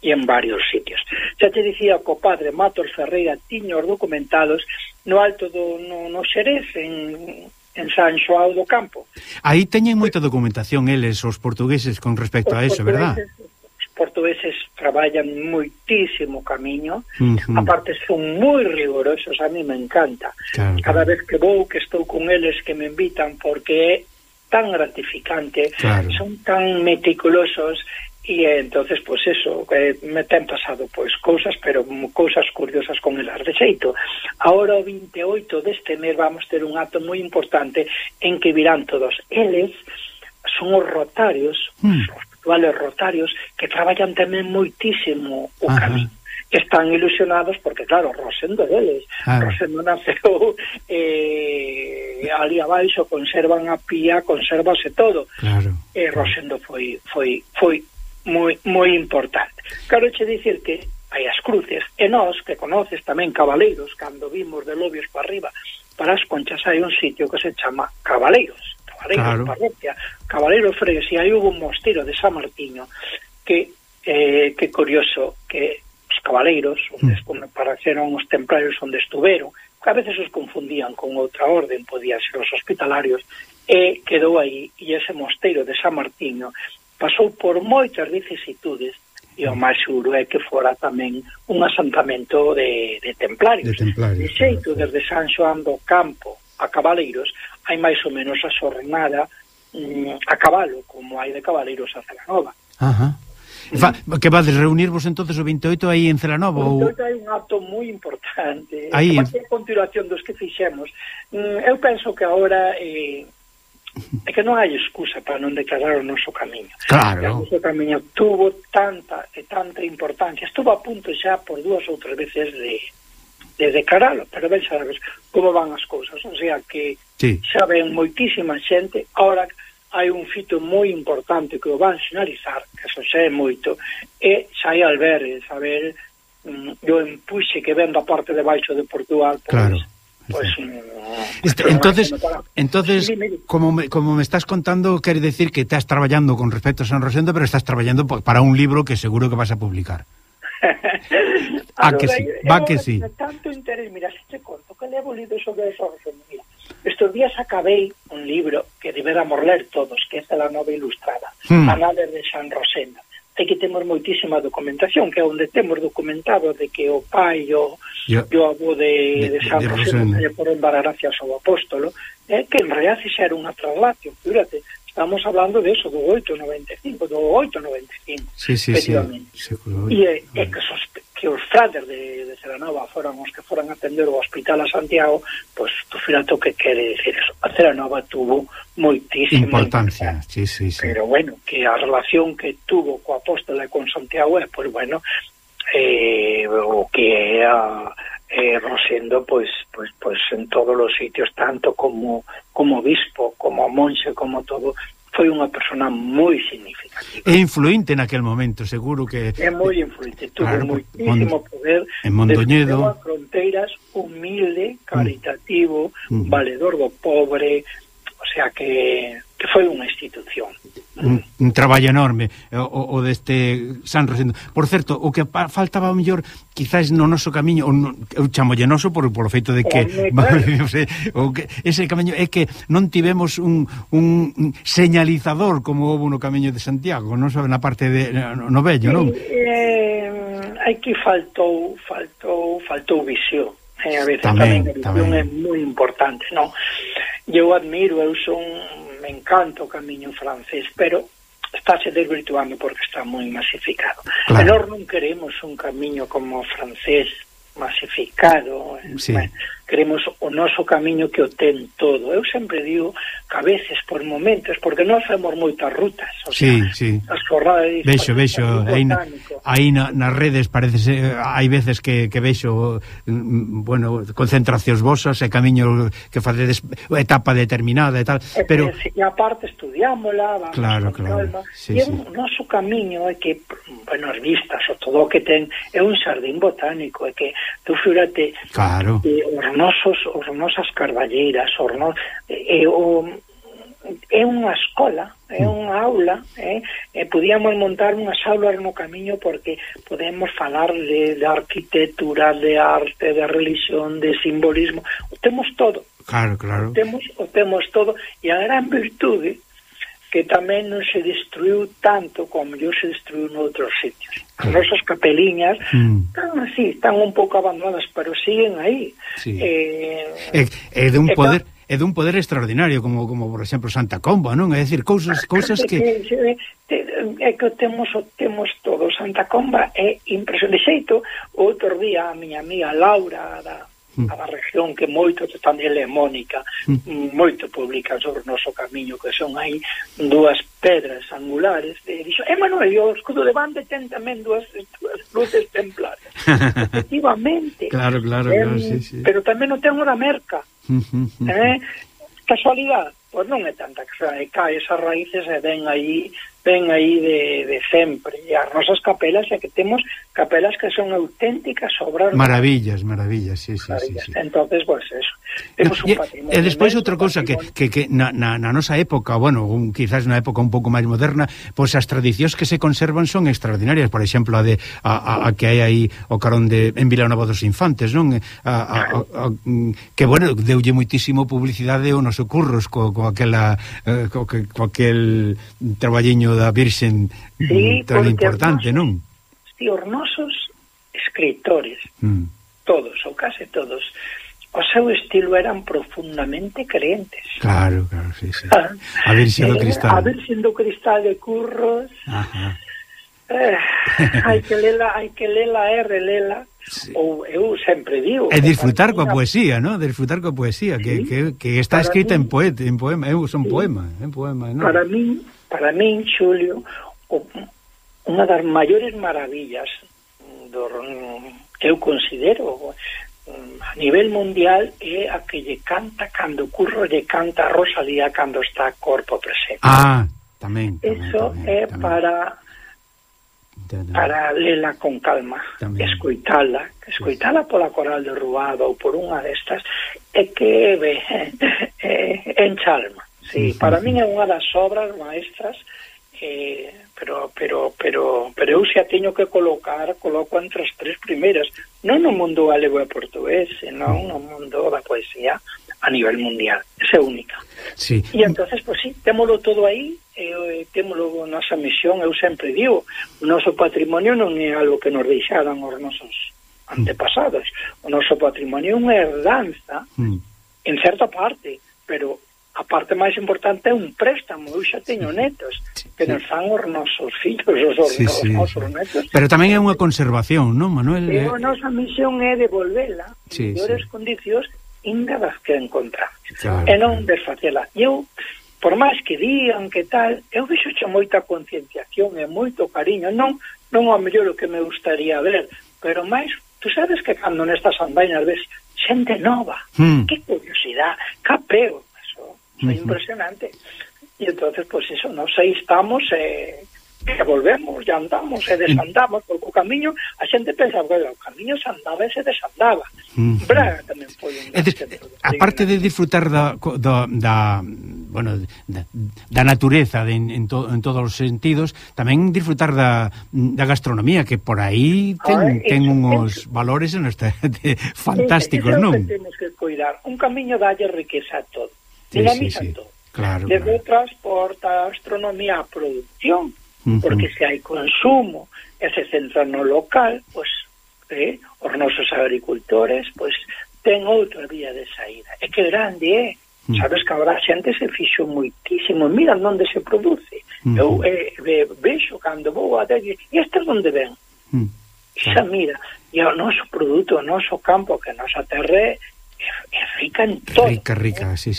en varios sitios. Xa te dicía que o padre Matos Ferreira tiña os documentados no Alto no Xerez, en San Xoao do Campo. Aí teñen moita documentación eles, os portugueses, con respecto a eso, verdad? Os portugueses traballan moitísimo camiño, aparte son moi rigurosos, a mí me encanta. Cada vez que vou, que estou con eles, que me invitan, porque é tan gratificante, son tan meticulosos, e entonces, pois eso, me ten pasado pois cousas, pero cousas curiosas con elas. De xeito, agora o 28 deste mes vamos ter un acto moi importante en que virán todos eles, son os rotarios, os actuales rotarios, que traballan tamén moitísimo o camiño. Están ilusionados porque, claro, Rosendo deles. Rosendo naceu ali abaixo, conservan a pía, conservase todo. Rosendo foi moi importante. Quero che dicir que hai as cruces, e nós, que conoces tamén cabaleiros, cando vimos de Lobios para arriba para as Conchas, hai un sitio que se chama Cabaleiros Cabaleiros, claro. parroquia, Cabaleiro Fregues, e aí hubo un mosteiro de San Martiño que curioso que os cabaleiros onde apareceron os templarios onde estuveron, que a veces os confundían con outra orden, podían ser os hospitalarios, e quedou aí, e ese mosteiro de San Martiño pasou por moitas vicisitudes, e o máis seguro é que fora tamén un asentamento de templarios. De xeito, desde San Xoán do Campo a Cabaleiros, hai máis ou menos a xornada a cabalo, como hai de Cabaleiros a Celanova. Ajá. Que vades reunirvos entonces o 28 aí en Celanova? O 28 hai un acto moi importante. Aí, a continuación dos que fixemos. Eu penso que agora é que non hai excusa para non declarar o noso camiño. Claro. O noso camiño tuvo tanta importancia. Estuvo a punto xa por 2 ou 3 veces de declararlo, pero ben sabes como van as cousas. O sea que xa ven moitísima xente. Ahora hai un fito moi importante que o van sinalizar, que eso xa é moito, e xa hai albergues, a ver, o empuxe que ven da parte de baixo de Portugal, claro. Entonces como me estás contando, quere decir que estás traballando con respecto a San Rosendo, pero estás traballando para un libro que seguro que vas a publicar. Que sí. Tanto interés, mira, se te conto que levo lido sobre San Rosendo, mira, estos días acabei un libro que debéramos ler todos, que é a nova ilustrada, a nave de San Rosendo. Hai que temos moitísima documentación, que é onde temos documentado de que o pai e o avó de San Rosendo por dar gracias ao apóstolo, que en realidad xa era unha traslación, fíjate, estamos hablando de eso, do 895, efectivamente. E que os frades de Celanova foran os que foran a atender o hospital a Santiago, pois tú fíjate o que quere decir eso. A Celanova tuvo moitísima importancia. Sí. Pero bueno, que a relación que tuvo co apóstolo e con Santiago é, pois bueno, o que é Rosendo, pois en todos os sitios, tanto como obispo, como monxe, como todo, foi unha persona moi significativa. É influente naquel momento, seguro que... É moi influente, tuvo moitísimo poder en Mondoñedo, a fronteiras, humilde, caritativo, valedor do pobre, o sea que foi unha institución. Un traballo enorme o deste San Rosendo. Por certo, o que faltaba ao mellor quizás no noso camiño, eu chamo llenoso por o feito de que ese camiño é que non tivemos un señalizador como houve no camiño de Santiago, non sabe, na parte de no vello, non? Hai que faltou visión. A veces tamén a visión é moi importante, non? Eu admiro, me encanta o camiño francés, pero estáse desvirtuando porque está moi masificado. Claro. E nós non queremos un camiño como o francés masificado, bueno, queremos o noso camiño que o ten todo. Eu sempre digo que a veces, por momentos, porque nós femos moitas rutas, o sea, as jornadas... Vexo, aí nas redes parece hai veces que vexo bueno, concentracións vosas e camiño que facedes etapa determinada e tal, pero... E aparte estudiámola, vamos con calma, e o noso camiño é que, bueno, as vistas, o todo o que ten, é un xardín botánico, é que tú fíjate, claro, os nosas carballeiras, é unha escola, é unha aula, podíamos montar unhas aulas no camiño porque podemos falar de arquitectura, de arte, de religión, de simbolismo, o temos todo. Claro. O temos todo, e a gran virtude que tamén non se destruiu tanto como se destruiu noutros sitios. As nosas capeliñas están así, están un pouco abandonadas, pero siguen aí. É de un poder extraordinario, como por exemplo Santa Comba, non? É dicir, cousas que... É que temos todo. Santa Comba é impresionante. De xeito, outro día a miña amiga Laura da región, que moito tamén é Mónica, moito publican sobre o noso camiño, que son aí 2 pedras angulares, dixo, Manuel, o escudo de bande ten tamén 2 luces templarias. Efectivamente. Claro, sí. Pero tamén non ten unha merca. Casualidade? Pois non é tanta, que cae esas raíces e ven aí ven aí de sempre, e as nosas capelas é que temos capelas que son auténticas obras maravillas, sí. Entonces, pues eso, temos un patrimonio. E despois outra cousa que na nosa época, bueno, quizás na época un pouco máis moderna, pois as tradicións que se conservan son extraordinarias. Por exemplo, a que hai aí o carón en Vilanova dos Infantes, non? Que, bueno, deulle moitísimo publicidade o noso Curros co aquel traballiño da Virxen tan importante, non? Sí, os nosos escritores, todos, ou case todos, o seu estilo eran profundamente creentes. Claro, sí. A Virxen do Cristal. A Virxen do Cristal de Curros. Ajá. Hai que lela e relela. Sí. Ou eu sempre digo, e disfrutar coa poesía, ¿no? Disfrutar coa poesía, sí, que está escrita en poema, son poema, ¿no? Para min, Xulio, unha das maiores maravillas que eu considero a nivel mundial é a que lle canta cando Curro lle canta a Rosalía cando está corpo presente. Tamén. Eso é para lela con calma, escoitala pola Coral de Ruado ou por unha destas, é que enchalma. Sí, para min é unha das obras maestras, pero eu xa teño que coloco entre as tres primeiras, non no mundo galego e portugués, senón no mundo da poesía a nivel mundial. Esa é única. Sí. E entonces, pues sí, témolo todo aí, témolo nosa misión. Eu sempre digo, o noso patrimonio non é algo que nos deixaran os nosos antepasados. O noso patrimonio é unha herdanza en certa parte, pero a parte máis importante é un préstamo. Eu xa teño netos que nos fan os nosos fillos, os nosos netos. Pero tamén é unha conservación, non, Manuel? A nosa misión é devolvela en mellores condicións inda das que encontramos, e non desfacela. Eu, por máis que digan que tal, eu vexo moita concienciación e moito cariño, non ao mellor o que me gustaría ver, pero máis, tú sabes que cando nestas andainas ves xente nova, que curiosidade, capeo, eso é impresionante. E entonces, pues eso, nos aí estamos, que volvemos, ya andamos e desandamos, porque o camiño, a xente pensa, bueno, o camiño se andaba e se desandaba. Braga tamén foi aparte de disfrutar da natureza en todos os sentidos, tamén disfrutar da gastronomía, que por aí ten uns valores fantásticos, non? Eso temos que cuidar. Un camiño dalle riqueza a todo, dinamiza todo. Claro, desde o transporte, a gastronomía, a producción, porque se hai consumo e se centra no local, pois os nosos agricultores pois ten outra vía de saída. É que grande é, sabes que agora a xente se fixo moitísimo, mira onde se produce. Eu vexo cando vou a decir, e este onde ven? Xa mira, e o noso produto, o noso campo, que a nosa terra é rica en todo. Rica, sí.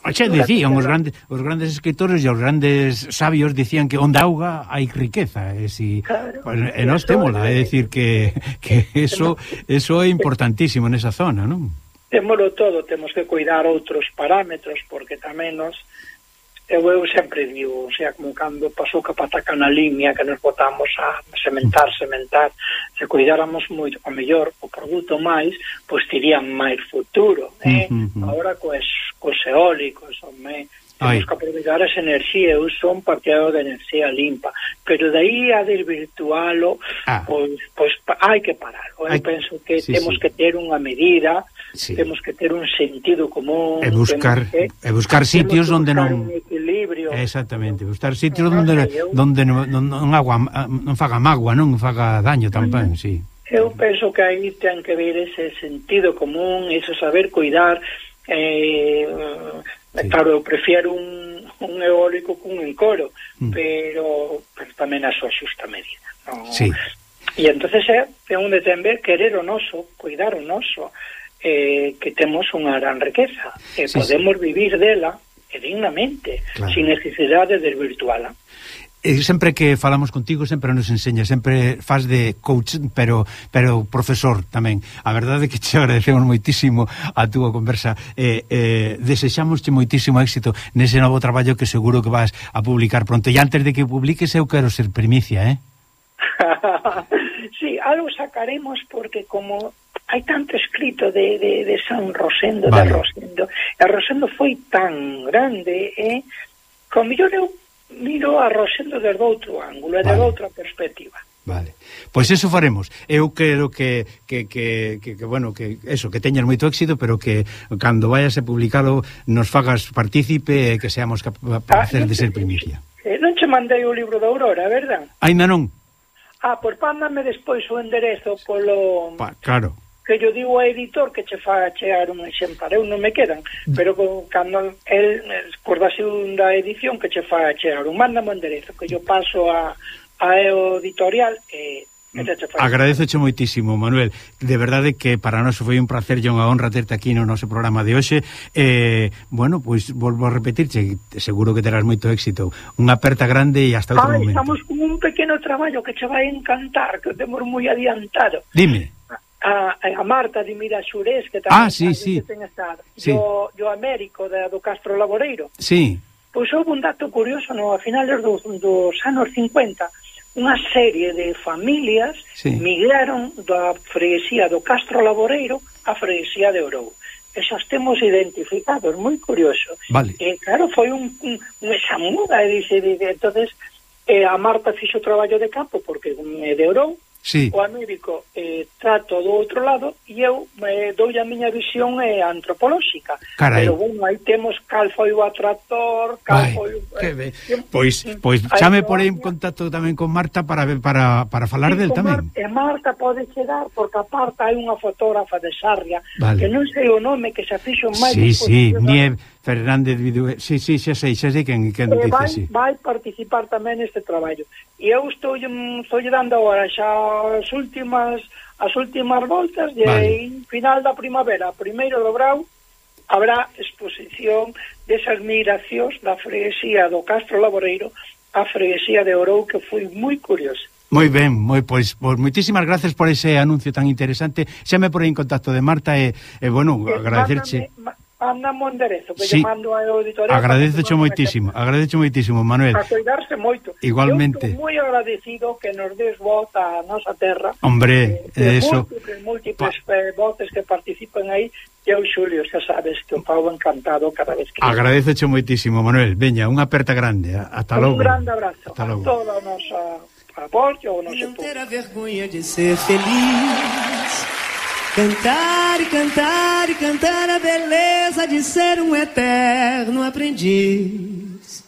Xa decían os grandes escritores e os grandes sabios dicían que onde auga hai riqueza, e nós témola, é dicir que eso é importantísimo nesa zona, non? Témolo todo, temos que cuidar outros parámetros, porque tamén eu sempre digo, o sea, como cando pasou que pataca na limia, que nos botamos a sementar, se cuidáramos moito, a mellor o produto máis, pois tirían máis futuro, agora cos eólicos, temos que aproveitar esa enerxía. Eu son partidario de enerxía limpa, pero de aí a desvirtualo, pois hai que paralo. Eu penso que temos que ter unha medida, temos que ter un sentido común, e buscar sitios onde non equilibrio. Exactamente, buscar sitios onde non faga mágoa, non faga daño tamén, Eu penso que aí ten que ver ese sentido común, ese saber cuidar. Claro, eu prefiero un eólico cun encoro, pero tamén a súa xusta medida, non? E entonces é onde ten ver querer o noso, cuidar o noso, que temos unha gran riqueza e podemos vivir dela dignamente, sin necesidade de desvirtuala. sempre que falamos contigo sempre nos enseña, sempre faz de coach, pero profesor tamén. A verdade é que te agradecemos moitísimo a túa conversa, desexámosche moitísimo éxito nese novo traballo que seguro que vas a publicar pronto, e antes de que publiques eu quero ser primicia, Sí, algo sacaremos porque como hai tanto escrito de San Rosendo, vale. de Rosendo, e Rosendo foi tan grande, como mellor eu miro a Rosendo desde outro ángulo, desde outra perspectiva. Vale. Pois eso faremos. Eu quero que bueno, que eso, que teñas moito éxito, pero que cando vayas a publicalo nos fagas partícipe e que seamos capaces de ser primicia. Non che mandei o libro da Aurora, verdad? Ainda non. Pois pándame despois o enderezo polo... Claro. Que yo digo ao editor que che fa chegar un exemplar, eu non me quedan, pero cando el por da segunda edición que che fa chegar un, mándame o enderezo que yo paso a editorial e Agradeceche moitísimo, Manuel. De verdade que para nós foi un placer e unha honra terte aquí no noso programa de hoxe. Bueno, pois volvo a repetirche, seguro que terás moito éxito. Unha aperta grande e hasta outro momento. Estamos con un pequeno traballo que che vai encantar, que o temos moi adiantado. Dime. A Marta de Miraxurés, que tamén sí. Que ten estado. Yo Américo do Castro Laboreiro. Sí. Pois houve un dato curioso, a finales dos anos 50, unha serie de familias migraron da freguesía do Castro Laboreiro á freguesía de Ourou. Esos temos identificados, moi curioso. Vale. Claro, foi esa muda, entonces a Marta fixo o traballo de campo porque é de Ourou. Sí. O Américo trato do outro lado e eu dou a miña visión antropolóxica. Carai. Pero bueno, aí temos cal foi o atractor, cal foi Pois xa me porei en contacto tamén con Marta para falar del tamén. Marta pode chegar porque aparte hai unha fotógrafa de Sarria, que non sei o nome, que se fixo máis. Sí, Nieve Fernández Vidue. Sí, xa sei quen dice. Vai participar tamén neste traballo. E eu estou dando agora xa as últimas voltas e en final da primavera, primeiro do brao, habrá exposición desas migracións da freguesía do Castro Laboreiro á freguesía de Ourou, que foi moi curioso. Moi ben, pois moitísimas gracias por ese anuncio tan interesante. Xa me porei en contacto de Marta e bueno, agradecerche. Mándame un enderezo que lle mando ao editorial. Agradececho moitísimo, Manuel. A cuidarse moito. Igualmente. Eu estou moi agradecido que nos des voz a nosa terra. Hombre, eso. Múltiples voces que participan aí. E eu, Xulio, xa sabes que o pau encantado cada vez que... Agradececho moitísimo, Manuel. Veña, unha aperta grande. Ata logo. Un grande abrazo a toda a nosa apoio, o noso público. Não ter a vergonha de ser feliz. Cantar e cantar e cantar a beleza de ser um eterno aprendiz.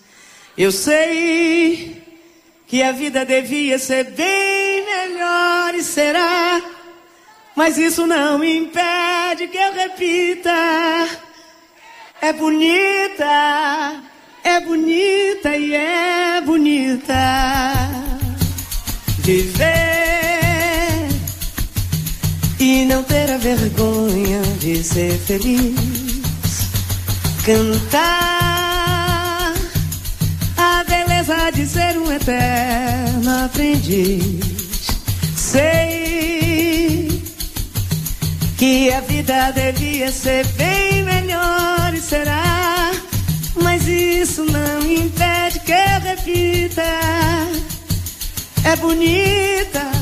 Eu sei que a vida devia ser bem melhor e será, mas isso não impede que eu repita. É bonita e é bonita viver e não ter a vergonha de ser feliz. Cantar a beleza de ser um eterno aprendiz. Sei que a vida devia ser bem melhor e será, mas isso não impede que eu repita. É bonita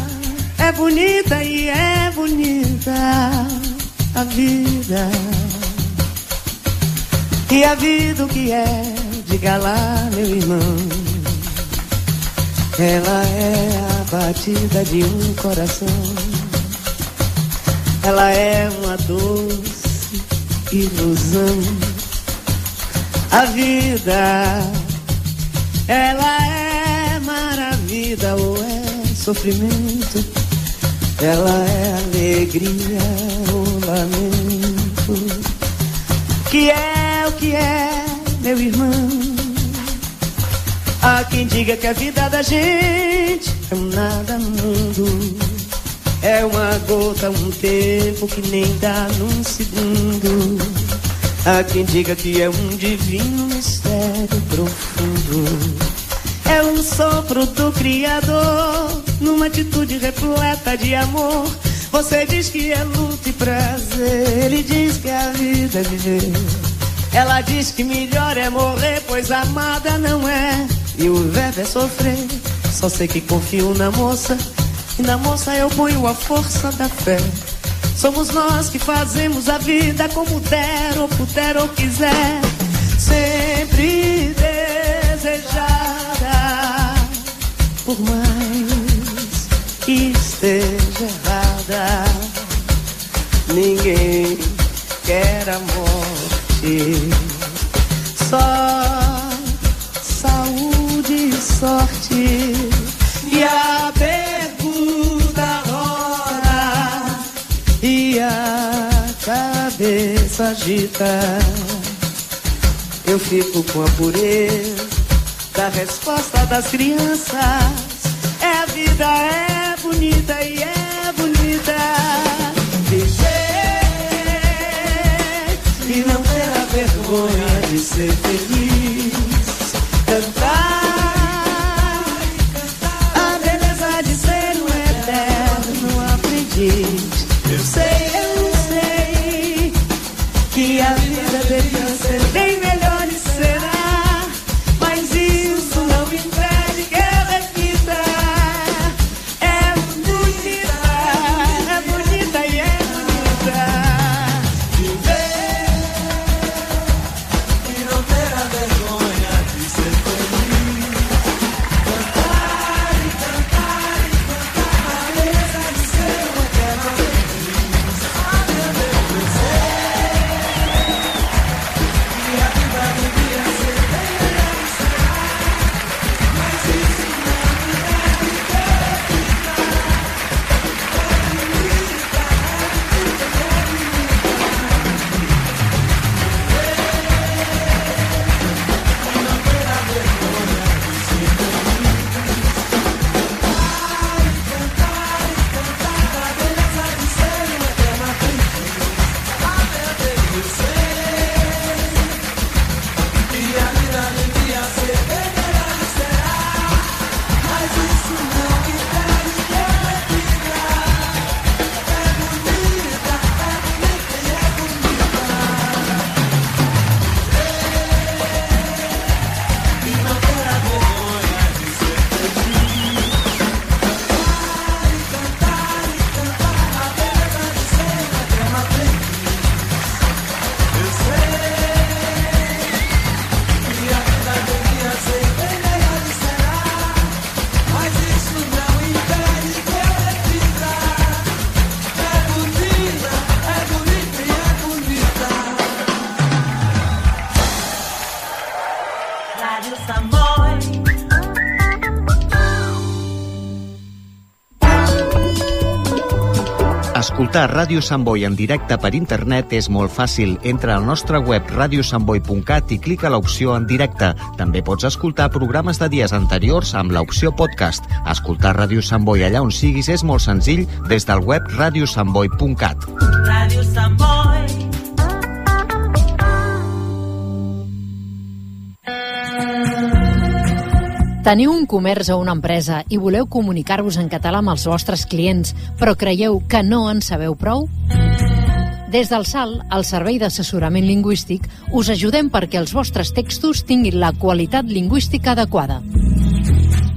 e é bonita a vida. E a vida o que é, diga lá, meu irmão. Ela é a batida de um coração. Ela é uma doce ilusão. A vida, ela é maravilha ou é sofrimento. Ela é alegria ou lamento. Que é o que é, meu irmão. Há quem diga que a vida da gente é um nada no mundo. É uma gota, um tempo que nem dá num segundo. Há quem diga que é um divino mistério profundo. É o sopro do Criador, numa atitude repleta de amor. Você diz que é luta e prazer, ele diz que a vida é viver. Ela diz que melhor é morrer, pois amada não é, e o verbo é sofrer. Só sei que confio na moça, e na moça eu ponho a força da fé. Somos nós que fazemos a vida como der, ou puder, ou quiser. Sempre desejada, por mais que esteja errada. Ninguém quer a morte, só saúde e sorte. E a pergunta roda e a cabeça agita. Eu fico com a pureza da resposta das crianças. É a vida, é bonita e é bonita. Viver e não ter a vergonha de ser feliz. Cantar a beleza de ser um eterno aprendiz. Eu sei que a vida devia ser bem melhor e será, mas isso não me impede que eu repita. É bonita e é bonita. Viver e não ter a vergonha de ser feliz. Cantar e cantar e cantar a beleza de ser um eterno aprendiz. A minha beleza. Escoltar Ràdio Sant Boi en directe per internet és molt fàcil. Entra al nostre web radiosantboi.cat i clica l'opció en directe. També pots escoltar programes de dies anteriors amb l'opció podcast. Escoltar Ràdio Sant Boi allà on siguis és molt senzill des del web radiosantboi.cat. Ràdio Sant Boi. Teniu un comerç o una empresa i voleu comunicar-vos en català amb els vostres clients, però creieu que no en sabeu prou? Des del SAL, el Servei d'Assessorament Lingüístic, us ajudem perquè els vostres textos tinguin la qualitat lingüística adequada.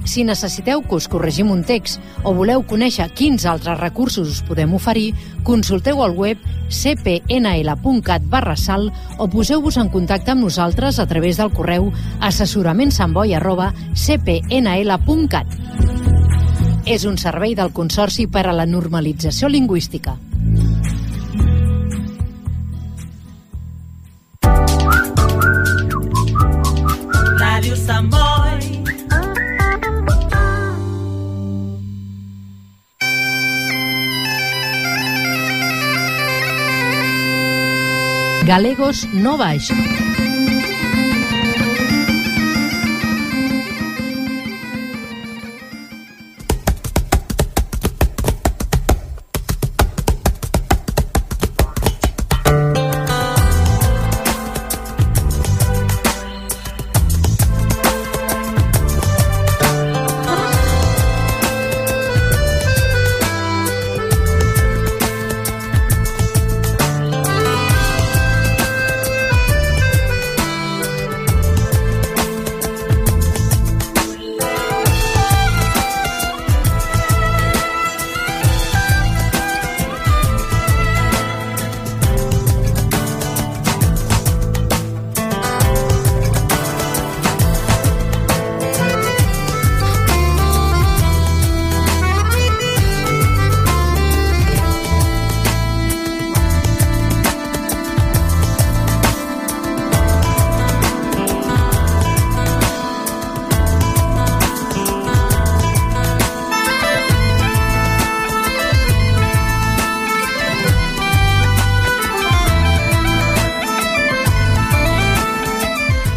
Si necessiteu que us corregim un text o voleu conèixer quins altres recursos us podem oferir, consulteu el web cpnl.cat/sal o poseu-vos en contacte amb nosaltres a través del correu assessoramentsantboi@cpnl.cat. És un servei del Consorci per a la Normalització Lingüística. Ràdio Sant Boi. Galegos no baix.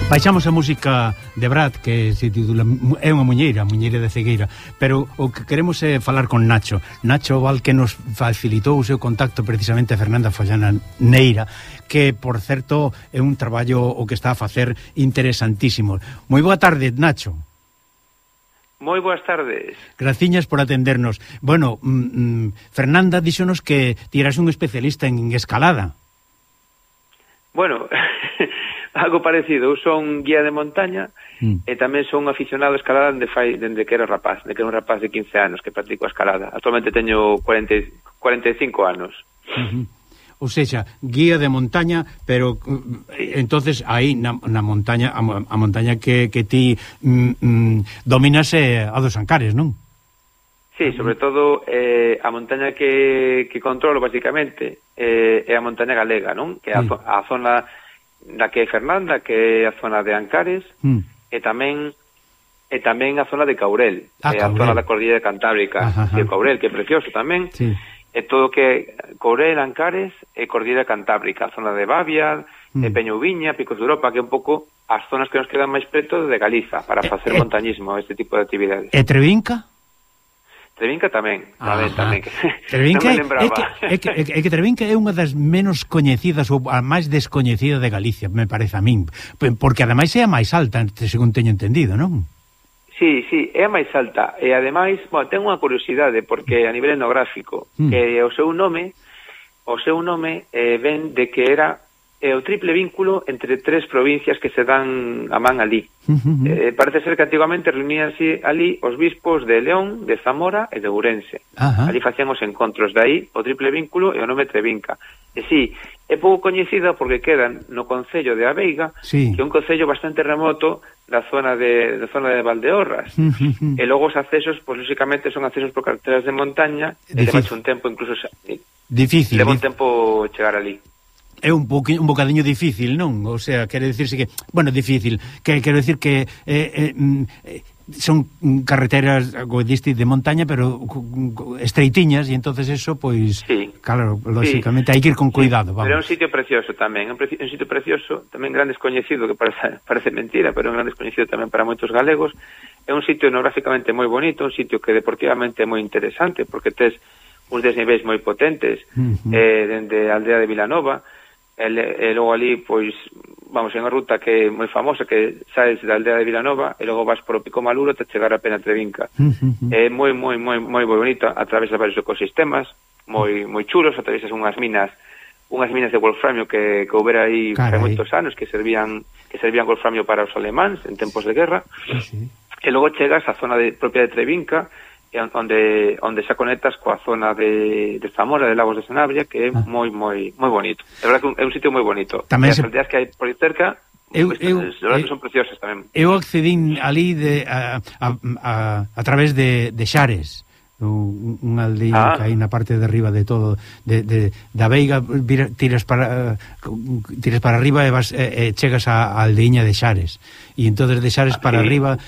Baixamos a música de Brad, que se titula é unha muñeira de cegueira, pero o que queremos é falar con Nacho Val, que nos facilitou o seu contacto precisamente a Fernanda Follana Neira, que, por certo, é un traballo o que está a facer interesantísimo. Moi boa tarde, Nacho. Moi boas tardes. Graciñas por atendernos. Bueno, Fernanda díxonos que ti eras un especialista en escalada. Bueno, algo parecido. Eu son guía de montaña e tamén son aficionado a escalada dende que era rapaz, de que era un rapaz de 15 anos que practico a escalada. Actualmente teño 45 anos. Ou seja, guía de montaña, pero entonces aí na montaña, a montaña que ti dominas é a dos Ancares, non? Sí, sobre todo a montaña que controlo basicamente é a montaña galega, non? Que é a zona da que é Fernanda, que é a zona de Ancares, e tamén a zona de Caurel, a zona da Cordillera Cantábrica, de Caurel, que é precioso tamén. Sí. E todo que Caurel, Ancares e Cordillera Cantábrica, a zona de Bavia, de Peñouviña, Picos de Europa, que é un pouco as zonas que nos quedan máis preto de Galiza para facer montañismo, este tipo de actividades. E Trevinca? Trevinca tamén. Trevinca é que Trevinca é unha das menos coñecidas ou a máis descoñecida de Galicia, me parece a min, porque ademais é a máis alta, según teño entendido, non? Sí, é a máis alta e ademais, bueno, ten unha curiosidade porque a nivel etnográfico que o seu nome ven de que era o triple vínculo entre tres provincias que se dan a man ali. Parece ser que antigamente reuníanse ali os bispos de León, de Zamora e de Ourense. Ali facían os encontros, de aí o triple vínculo e o nome Trevinca. E sí, é pouco coñecida porque quedan no concello de Aveiga, que é un concello bastante remoto da zona de Valdeorras. E logo os accesos, pois lógicamente son accesos por carreteras de montaña, e leva un tempo incluso difícil. Leva un tempo chegar ali. É un bocadiño difícil, non? O sea, quere dicirse que, bueno, difícil, que quero dicir que son carreteras de montaña, pero estreitiñas, e entonces eso, pois, claro, lógicamente hai que ir con cuidado, vamos. Pero é un sitio precioso tamén, un sitio precioso, tamén gran descoñecido, que parece mentira, pero é un gran descoñecido tamén para moitos galegos. É un sitio etnográficamente moi bonito, un sitio que deportivamente é moi interesante, porque tes uns desniveis moi potentes, dende a aldea de Vilanova, e logo ali, pois, vamos, é unha ruta que é moi famosa, que saes da aldea de Vilanova e logo vas por o Pico Maluro te chegar a Pena Trevinca. É moi bonito, atravesas varios ecosistemas moi chulos, atravesas unhas minas de wolframio que houbera aí hai moitos anos, que servían wolframio para os alemáns en tempos de guerra. E logo chegas á zona propia de Trevinca, onde xa conectas coa zona de Zamora, de Lagos de Sanabria, que é moi bonito. É verdade que é un sitio moi bonito. Tamén as aldeas que hai por aí cerca son preciosas tamén. Eu accedín ali a través de Xares, unha aldea que hai na parte de arriba de todo, da Veiga, tiras para arriba e chegas á aldeiña de Xares, e entonces de Xares para arriba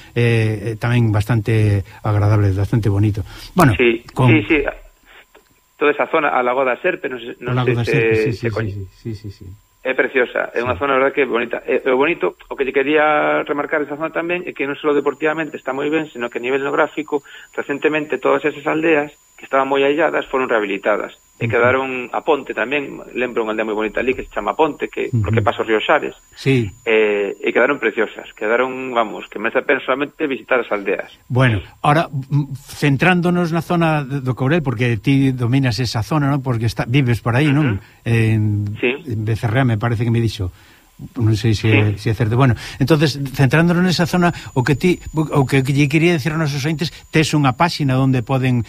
tamén bastante agradable, bastante bonito. Bueno, sí. Toda esa zona, a Lagoa da Serpe, non sei se coñece. Sí. É preciosa, é unha zona, verdad, que é bonita. O bonito, o que lle quería remarcar esa zona tamén é que non só deportivamente está moi ben, sino que a nivel etnográfico, recentemente todas esas aldeas que estaban moi ailladas foron rehabilitadas e quedaron a Ponte tamén, lembro unha aldea moi bonita ali que se chama Ponte, porque pasa o río Xares, e quedaron preciosas, vamos, que merece a pena solamente visitar as aldeas. Bueno, ahora, centrándonos na zona do Caurel, porque ti dominas esa zona, non? Porque vives por aí, non? En Becerrea, me parece que me dixo. Non sei se é certo. Bueno, entonces, centrándonos nesa zona, o que lle quería decir aos nosos ointes, tes unha páxina onde poden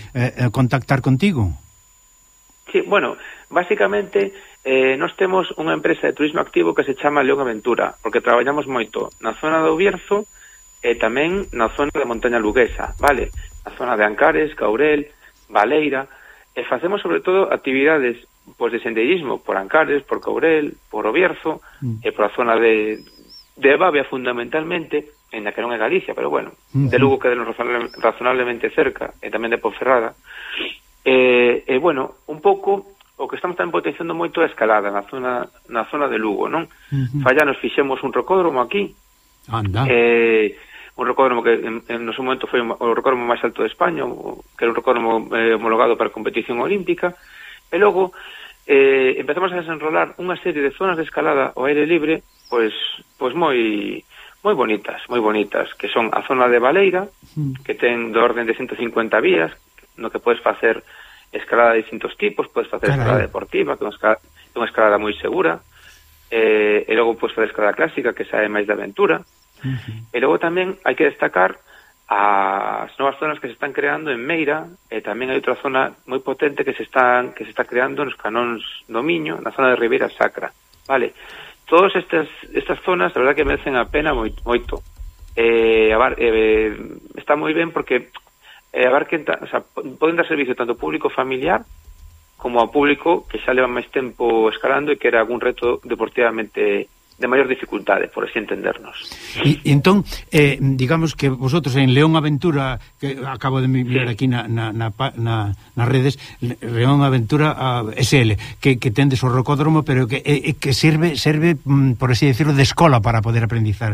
contactar contigo? Sí, bueno, básicamente nós temos unha empresa de turismo activo que se chama León Aventura, porque traballamos moito na zona do Bierzo e tamén na zona da montaña luguesa, vale? Na zona de Ancares, Caurel, Valeira, e facemos sobre todo actividades de sendeirismo por Ancares, por Caurel, por o Bierzo e por a zona de Bavia fundamentalmente, en la que non é Galicia, pero bueno, de Lugo que é razonablemente cerca, e tamén de Ponferrada. E bueno, un pouco o que estamos tamén potenciando moito a escalada na zona de Lugo, non? Falla nos fixemos un rocódromo aquí, Anda. Un rocódromo que no seu momento foi o rocódromo máis alto de España, que era un rocódromo homologado para a competición olímpica, e logo empezamos a desenrolar unha serie de zonas de escalada ao aire libre, pois moi bonitas, que son a zona de Baleira, que ten do orden de 150 vías, no que podes facer escalada de distintos tipos, podes facer escalada deportiva, que é unha escalada moi segura, e logo podes facer escalada clásica, que xa é máis de aventura, e logo tamén hai que destacar as novas zonas que se están creando en Meira, e tamén hai outra zona moi potente que se está creando nos canóns do Miño, na zona de Ribeira Sacra, vale? Todas estas zonas, a verdad que merecen a pena moito. Está moi ben porque poden dar servicio tanto público familiar como ao público que xa leva máis tempo escalando e que era algún reto deportivamente de maior dificultade, por así entendernos. E entón, digamos que vosotros en León Aventura, que acabo de mirar aquí nas redes, León Aventura SL, que tendes o rocódromo, pero que serve, por así decirlo, de escola para poder aprendizar.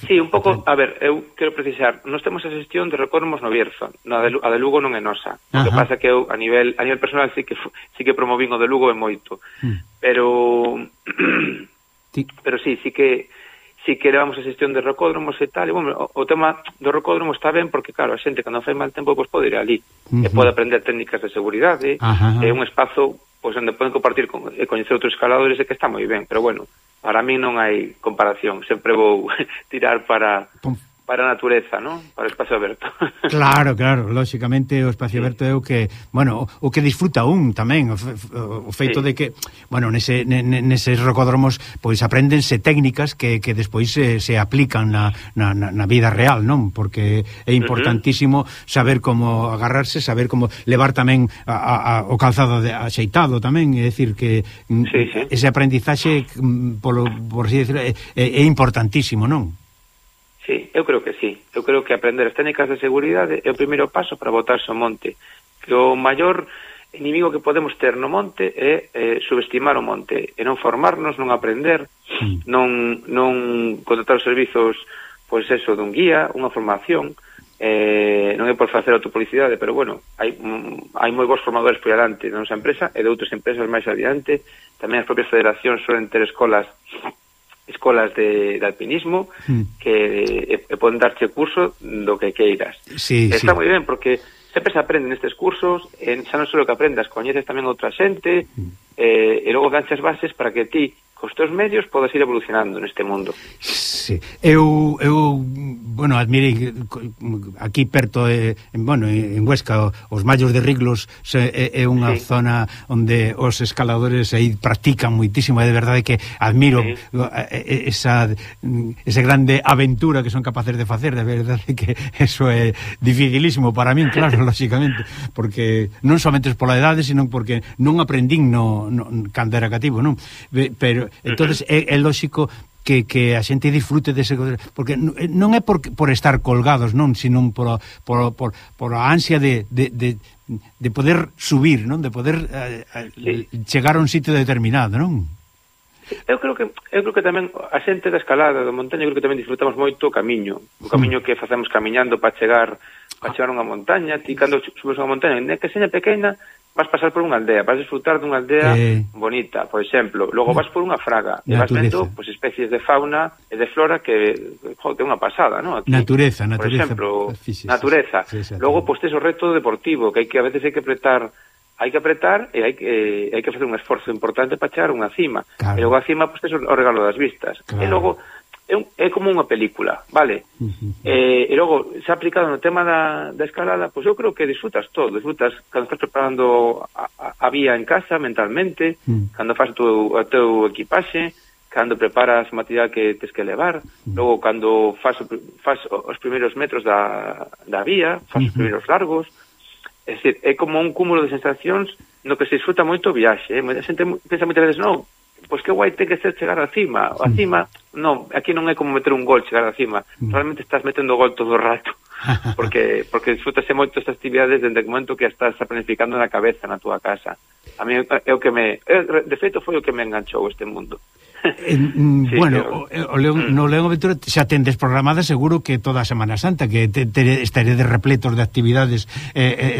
Sí, un pouco, a ver, eu quero precisar, nós temos a xestión de rocódromos no Bierzo, a de Lugo non é nosa. O que pasa que eu, a nivel personal, sí que promovín o de Lugo e moito. Pero sí que levamos a xestión de rocódromos e tal, e bueno, o tema do rocódromo está ben porque, claro, a xente cando fai mal tempo pode ir ali e pode aprender técnicas de seguridade, é un espazo onde poden compartir e coñecer outros escaladores, e que está moi ben, pero bueno, para mí non hai comparación, sempre vou tirar para a natureza, non? Para o espacio aberto. Claro, lóxicamente o espacio aberto é o que, bueno, o que disfruta un tamén, o feito de que, bueno, neses rocódromos pois apréndense técnicas que despois se aplican na vida real, non? Porque é importantísimo saber como agarrarse, saber como levar tamén o calzado axeitado tamén, é dicir que ese aprendizaxe por así decirlo é importantísimo, non? Sí, eu creo que sí. Eu creo que aprender as técnicas de seguridade é o primeiro paso para botarse ao monte. Que o maior inimigo que podemos ter no monte é subestimar o monte, e non formarnos, non aprender, non contratar os servizos, pois eso, dun guía, unha formación, non é por facer autopublicidade, pero bueno, hai moi bons formadores por adiante da nosa empresa e de outras empresas máis adiante. Tamén as propias federacións suelen ter escolas de alpinismo que poden darche curso do que queiras. Está moi ben porque sempre se aprende nestes cursos, xa non só que aprendas, coñeces tamén outra xente, e logo ganchas bases para que ti, cos teus medios, podas ir evolucionando neste mundo. Sí. Eu bueno, admirei aquí perto, bueno, en Huesca, os Mallos de Riglos é unha zona onde os escaladores aí practican moitísimo, é de verdade que admiro esa grande aventura que son capaces de facer, de verdade que eso é dificilísimo para min, claro, lóxicamente, porque non somente pola edade, sino porque non aprendín cando era cativo, non? Pero entonces é lóxico que a xente disfrute dese, porque non é por estar colgados, non, sino por a ansia de poder subir, non, de poder chegar a un sitio determinado, non? Eu creo que tamén a xente da escalada da montaña, creo que tamén disfrutamos moito o camiño que facemos camiñando para chegar a unha montaña. Ti cando subes unha montaña, que seña pequena, vas pasar por unha aldea, vas disfrutar dunha aldea bonita, por exemplo. Logo vas por unha fraga e vas vendo especies de fauna e de flora que é unha pasada, non? Natureza. Por exemplo, natureza. Logo, tes o reto deportivo, que a veces hai que apretar e hai que facer un esforzo importante para chegar a unha cima. E logo a cima, tes o regalo das vistas. E logo é como unha película, vale? E logo, xa aplicado no tema da escalada, pois eu creo que disfrutas todo. Disfrutas cando estás preparando a vía en casa, mentalmente, cando faz o teu equipaxe, cando preparas o material que tes que levar, logo cando faz os primeiros metros da vía, faz os primeiros largos. É dicir, é como un cúmulo de sensacións no que se disfruta moito o viaxe. A xente pensa moitas veces, non, pois que guai ten que ser chegar á cima. A cima, non, aquí non é como meter un gol chegar á cima. Realmente estás metendo gol todo o rato. Porque disfrutase moito estas actividades desde o momento que estás planificando na cabeza na túa casa. A mí é o que de feito foi o que me enganchou este mundo. Bueno, no León Aventura xa tendes programada seguro que toda a Semana Santa, que estaredes repletos de actividades,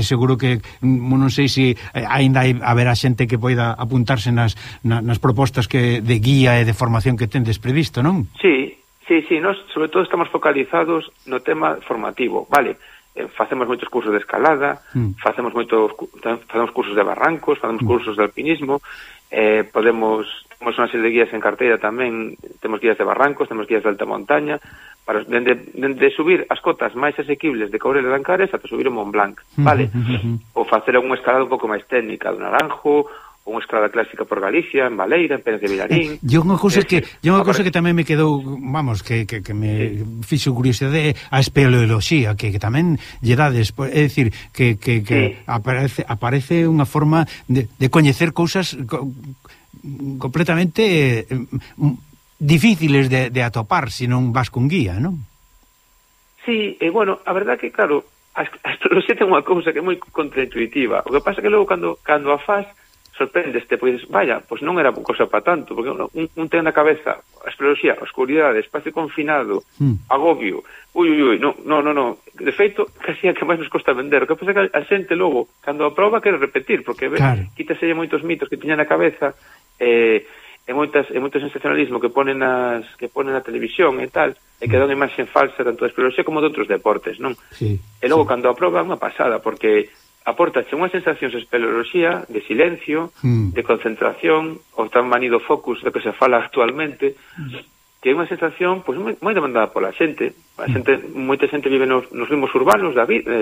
seguro que non sei se aínda haberá xente que poida apuntarse nas propostas de guía e de formación que tendes previsto, non? Sí, nós sobre todo estamos focalizados no tema formativo, vale? Facemos moitos cursos de escalada, facemos cursos de barrancos, facemos cursos de alpinismo, temos unha serie de guías en carteira tamén, temos guías de barrancos, temos guías de alta montaña, para de subir as cotas máis asequibles de Courel e Lancares ata subir o Mont Blanc, vale? Ou facer unha escalada un pouco máis técnica do Naranjo, ou unha escalada clásica por Galicia, en Baleira, en Pérez de Vilarín. Unha cousa que tamén me quedou, vamos, que me fixo curiosidade, a espeleoloxía, que tamén lle dades, é dicir, que aparece unha forma de coñecer cousas completamente difíciles de atopar se non vas con guía, non? Sí, bueno, a verdad que, claro, a espeleoloxía ten unha cousa que é moi contraintuitiva. O que pasa que logo, cando a faz, sorprendeste, pois, vaya, pois non era cousa para tanto, porque un ten na cabeza a espeleoloxía, a oscuridade, espacio confinado, agobio, no, de feito, casi a que máis nos costa vender. O que pasa que a xente logo, cando a proba, quere repetir, porque quítase moitos mitos que tiña na cabeza, e moito sensacionalismo que ponen na televisión e tal, e que dá unha imaxe falsa tanto da espeleoloxía como de outros deportes, non? Sí, e logo, cando a proba, é unha pasada, porque apórtache unha sensación de espeleoloxía, de silencio, de concentración, o tan manido focus do que se fala actualmente, que é unha sensación pois moi demandada pola xente. Moita xente vive nos ritmos urbanos da vida,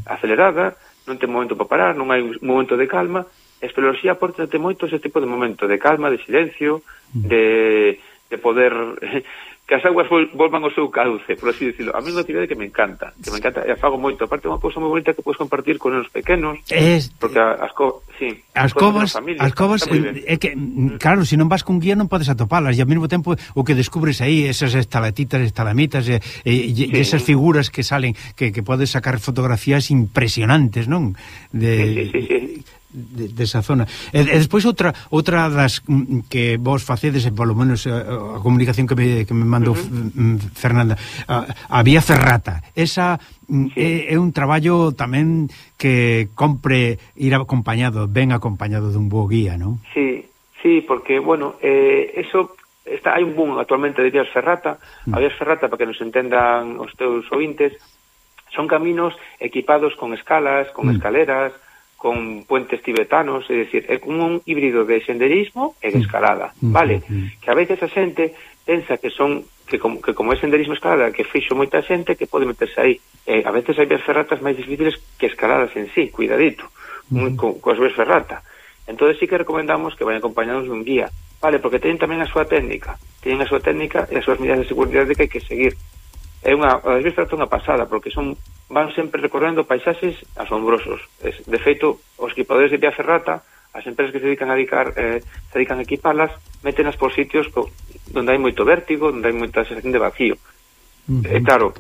acelerada, non ten momento para parar, non hai un momento de calma. A espeleoloxía apórtate moito ese tipo de momento de calma, de silencio, de poder que as aguas volvan ao seu cauce, por así decirlo. A mí é unha actividade que me encanta, e fago moito. Aparte, é unha cousa moi bonita que podes compartir con os pequenos, porque as covas é que, claro, se non vas con guía non podes atopalas, e ao mesmo tempo o que descubres aí, esas estalactitas, estalamitas, e esas figuras que salen, que podes sacar fotografías impresionantes, non? De esa zona. E despois outra das que vos facedes, polo menos a comunicación que me mandou Fernanda, a Vía Ferrata. Esa é un traballo tamén que compre ir ben acompañado dun bo guía, non? Sí, porque, bueno, eso hai un boom actualmente de Vías Ferrata. A Vías Ferrata, para que nos entendan os teus ouvintes, son caminos equipados con escalas, con escaleras, con puentes tibetanos, é dicir, é como un híbrido de senderismo e de escalada, vale? Que a veces a xente pensa que como é senderismo e escalada, que fixo moita xente que pode meterse aí. A veces hai vías ferratas máis difíciles que escaladas en sí, cuidadito, coas vías ferrata. Entón sí que recomendamos que vayan acompañados dun guía, vale? Porque teñen tamén a súa técnica, e as súas medidas de seguridade que hai que seguir. As vías ferratas é unha pasada, porque van sempre recorrendo paisaxes asombrosos. De feito, os equipadores de Vía Ferrata, as empresas que se dedican a equipalas, métenas por sitios onde hai moito vértigo, onde hai moita sensación de vacío. Claro,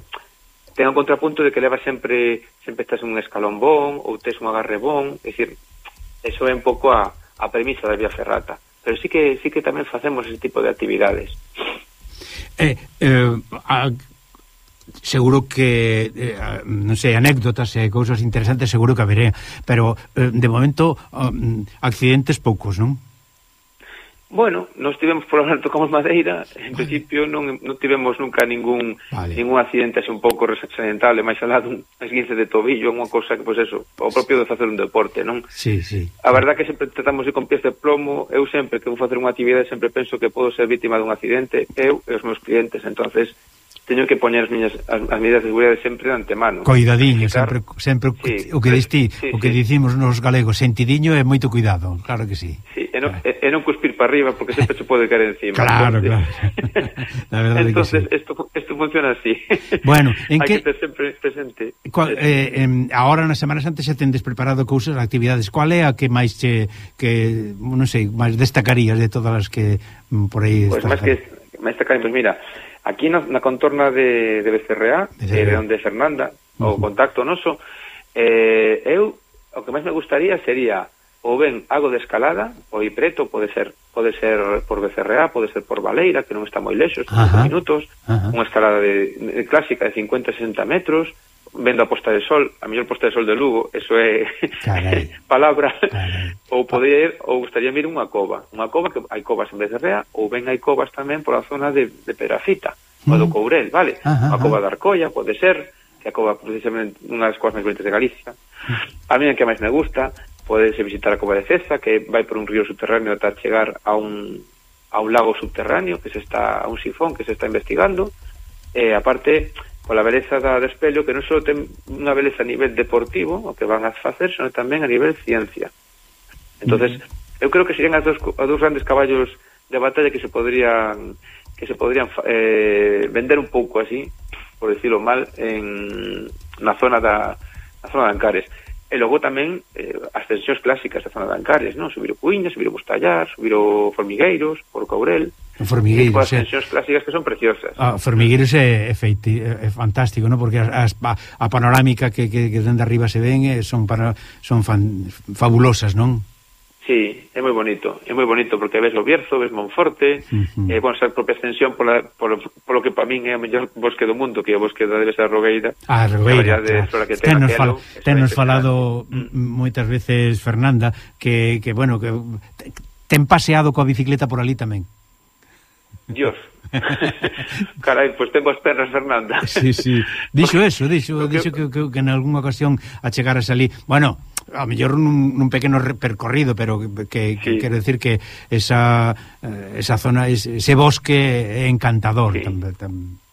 ten un contrapunto de que leva sempre estás en un escalón bon, ou tes un agarre bon, é dicir, eso é un pouco a premisa da Vía Ferrata. Pero sí que tamén facemos ese tipo de actividades. Seguro que non sei, anécdotas e cousas interesantes seguro que haberé, pero de momento accidentes poucos, non? Bueno, nos tivemos por ahora, tocamos madeira, en principio non tivemos nunca ningún accidente así un pouco accidentable, máis alá dun esguince de tobillo, unha cousa que, pois eso, o propio de facer un deporte, non? Sí. A verdad que sempre tratamos de con pies de plomo. Eu sempre que vou facer unha actividade sempre penso que podo ser vítima dun accidente, eu e os meus clientes, entonces teño que poñer as medidas de seguridade sempre de antemano. Coidadiño, sempre o que diste, o que dicimos nos galegos, sentidiño e moito cuidado, claro que sí. Sí, e non cuspir para arriba porque sempre se pode caer encima. Claro. La verdade entonces, que sí. Esto funciona así. Bueno, hai que ter sempre presente. Ahora na Semana Santa xa tendes preparado cousas, actividades. Qual é a que máis non sei, máis destacarías de todas as que por aí estás? Pois máis destacarías, pois mira, aquí na contorna de Becerreá, de onde Fernanda, o contacto noso, eu, o que máis me gustaría sería ou ben algo de escalada, ou preto, pode ser pode ser por BCRA, pode ser por Baleira, que non está moi lexos, 5 minutos, unha escalada de clásica de 50-60 metros, vendo a posta de sol, a mellor posta de sol de Lugo, eso é palabra, ou poder, ou gustaría ir unha cova que hai covas en BCRA, ou ben hai covas tamén por a zona de Pedrafita, ou do Courel, vale? A cova de Arcolla, pode ser, que a cova precisamente unha das covas máis bonitas de Galicia. A mí a que máis me gusta, podes visitar a cova de Ceza, que vai por un río subterráneo ata chegar a un lago subterráneo, a un sifón que se está investigando, e aparte pola beleza da Espelho, que non só ten unha beleza a nivel deportivo, o que van a facer, senón tamén a nivel ciencia. Entonces, eu creo que serían os dous grandes caballos de batalla que se podrían vender un pouco así, por decirlo mal, na zona de Ancares. E logo tamén as ascensións clásicas da zona de Ancares, non? Subir o Cuíña, subir o Bustallar, subir o Formigueiros, por Courel. Formigueiros, as ascensións clásicas que son preciosas. Formigueiros é fantástico, non? Porque a panorámica que dende arriba se ven son fabulosas, non? Sí, é moi bonito porque ves o Bierzo, ves Monforte, bueno, esa propia ascensión polo que para min é o mellor bosque do mundo, que é o bosque da Devesa da Rogueira. Rogueira, claro. Tennos falado moitas veces, Fernanda, que bueno, que ten paseado coa bicicleta por ali tamén. Dios. Carai, pois ten boas pernas, Fernanda. Sí. Dixo que en algunha ocasión achegaras ali, bueno, a mellor nun pequeno percorrido, pero que quero decir que esa zona, ese bosque é encantador.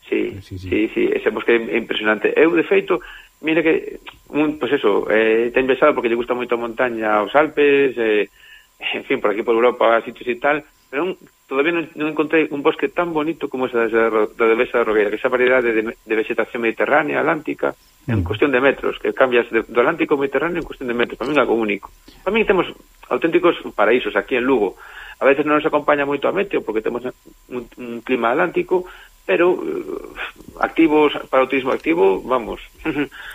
Sí, ese bosque é impresionante. Eu, de feito, mira que pois eso, ten besado porque lle gusta moito a montaña, os Alpes, en fin, por aquí por Europa, sitios e tal, pero todavía non encontrei un bosque tan bonito como esa da Devesa da Rogueira, que esa variedade de vegetación mediterránea, atlántica, en cuestión de metros, que cambias do Atlántico ao Mediterráneo en cuestión de metros. Para mí é algo único. Para mí temos auténticos paraísos aquí en Lugo. A veces non nos acompaña moito a meteo porque temos un clima atlántico, pero activos para o turismo activo, vamos,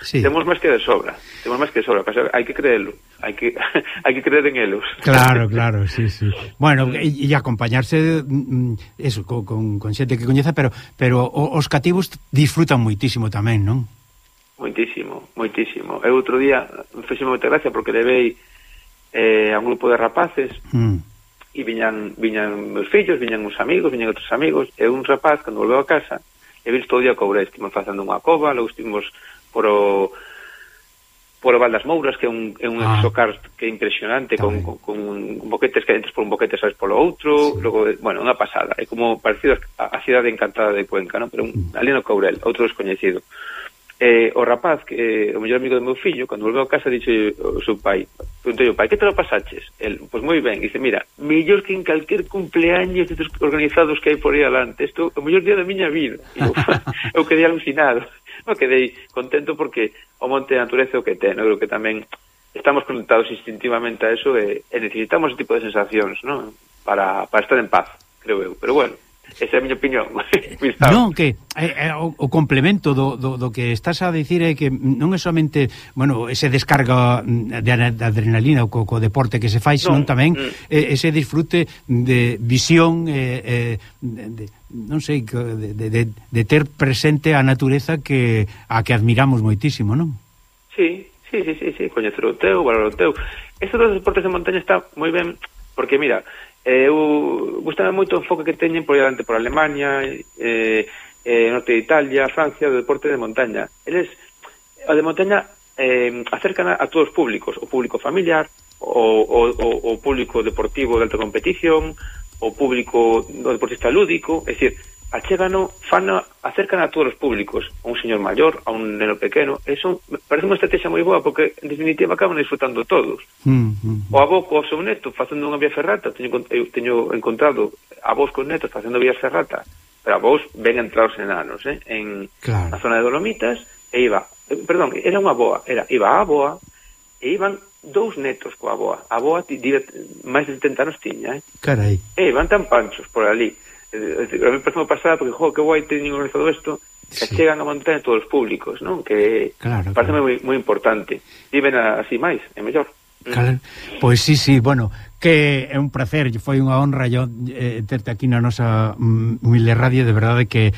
temos máis que de sobra. Hai que creerlo, hai que creer en elos. Claro, sí. Bueno, e acompañarse eso con xente que coñeza, pero os cativos disfrutan moitísimo tamén, non? Moitísimo. Eu outro día fixeme moita gracia porque levei a un grupo de rapaces e viñan meus fillos, viñan uns amigos, viñan outros amigos, e un rapaz, cando volveu a casa, e vimos todo o día Courel, estivemos facendo unha cova, logo estivemos por o Val das Mouras, que é un exocar que é impresionante, con boquetes que entras por un boquete, sabes polo outro, logo, bueno, unha pasada, é como parecido a cidade encantada de Cuenca, non? Pero ali no Courel, outro descoñecido. O rapaz, que o mellor amigo do meu fillo, cando volveu a casa, dixe o seu pai, preguntei ao pai, que te lo pasaches? El, pois moi ben, dice, mira, mellor que en calquer cumpleaños destes organizados que hai por aí alante, isto é o mellor día da miña vida. E eu quedei alucinado, eu quedei contento porque o monte de natureza é o que ten, eu creo que tamén estamos conectados instintivamente a eso e necesitamos ese tipo de sensacións, non? Para estar en paz, creo eu, pero bueno, esa é a miña opinión. Non, que o complemento do que estás a dicir é que non é somente, bueno, ese descarga de adrenalina co deporte que se fai, senón tamén ese disfrute de visión, non sei, de ter presente a natureza a que admiramos moitísimo, non? Sí, coñecer o teu, valorar o teu. Estos dos deportes de montaña está moi ben, porque mira, eu gustame moito o enfoque que teñen por diante por Alemania, norte de Italia, Francia, do deporte de montaña. Eles, o de montaña, acercan a todos os públicos, o público familiar, o público deportivo de alta competición, o público do deportista lúdico, é dicir, acercan a todos os públicos, a un señor maior, a un neno pequeno. Eso parece unha estrategia moi boa porque en definitiva acaban disfrutando todos. O avó co seu neto facendo unha vía ferrata, teño encontrado avós con netos facendo vías ferrata, pero avós ben entrados enanos, na zona de Dolomitas, e iba a aboa e iban dous netos coa aboa. A aboa máis de 70 anos tiña, Carai. E iban tan panchos por ali. A mí parece pasada porque, que guai teñen organizado isto, que chegan a montaña todos os públicos, non? Que parece moi importante. Viven así máis, é mellor. Claro. Pois sí, bueno, que é un placer, foi unha honra yo terte aquí na nosa humilde radio, de verdade que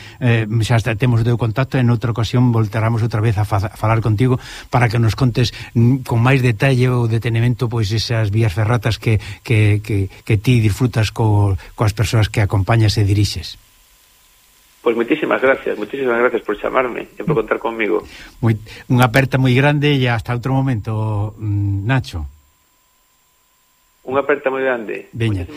xa temos o teu contacto, en outra ocasión voltaramos outra vez a falar contigo para que nos contes con máis detalle ou detenimento pois esas vías ferratas que ti disfrutas coas persoas que acompañas e dirixes. Pois moitísimas gracias por chamarme e por contar conmigo. Unha aperta moi grande e hasta outro momento, Nacho. Unha aperta moi grande. Veña,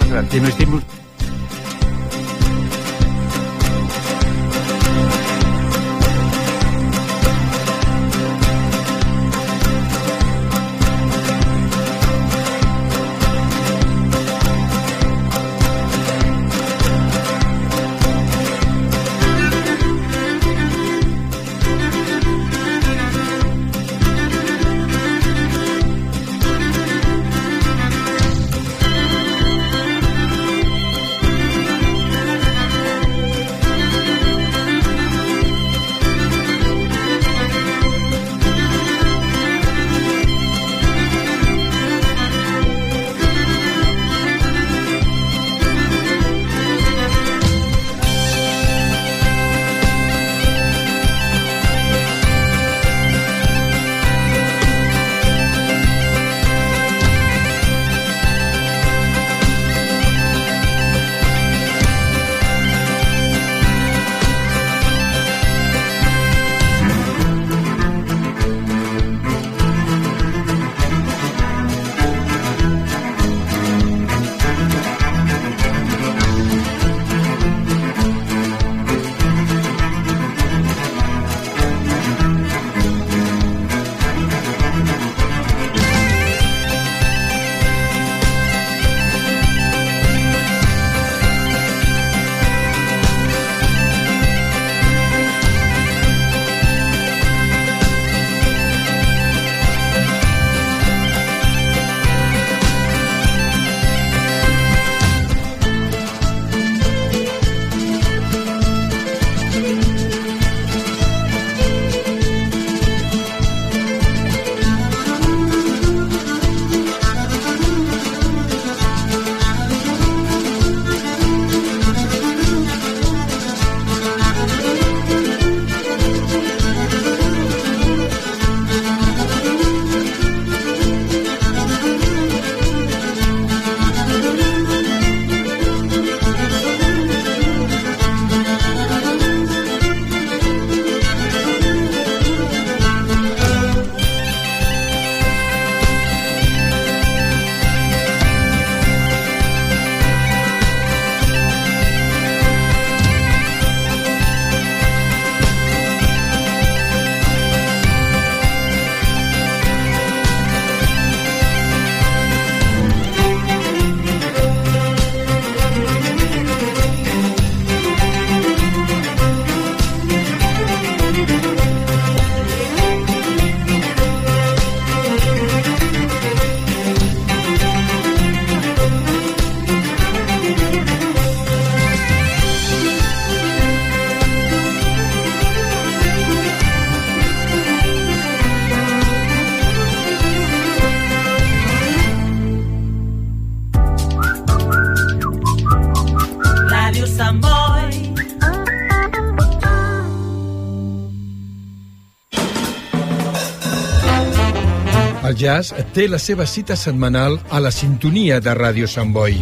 El jazz té la seva cita setmanal a la sintonia de Ràdio Sant Boi.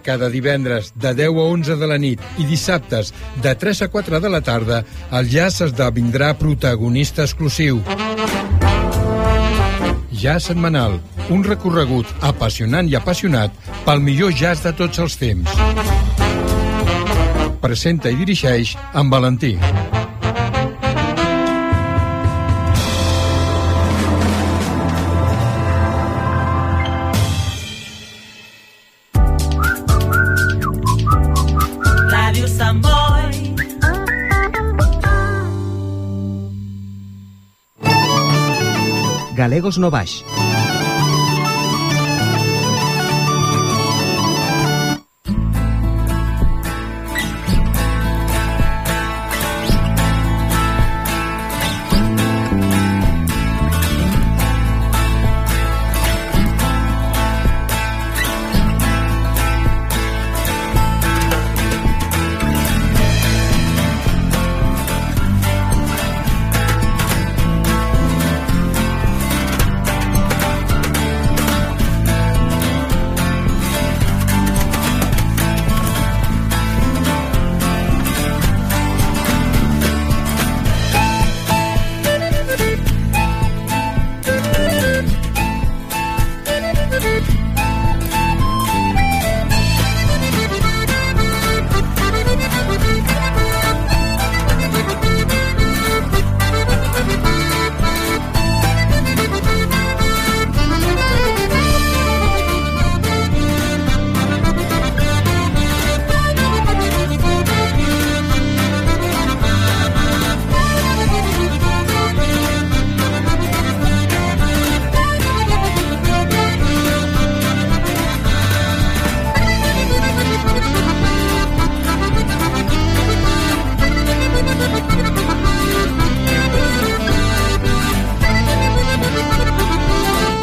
Cada divendres de 10 a 11 de la nit i dissabtes de 3 a 4 de la tarda, el jazz esdevindrà protagonista exclusiu. Jazz setmanal, un recorregut apassionant i apassionat pel millor jazz de tots els temps. Presenta i dirigeix en Valentí. Galegos no Baix.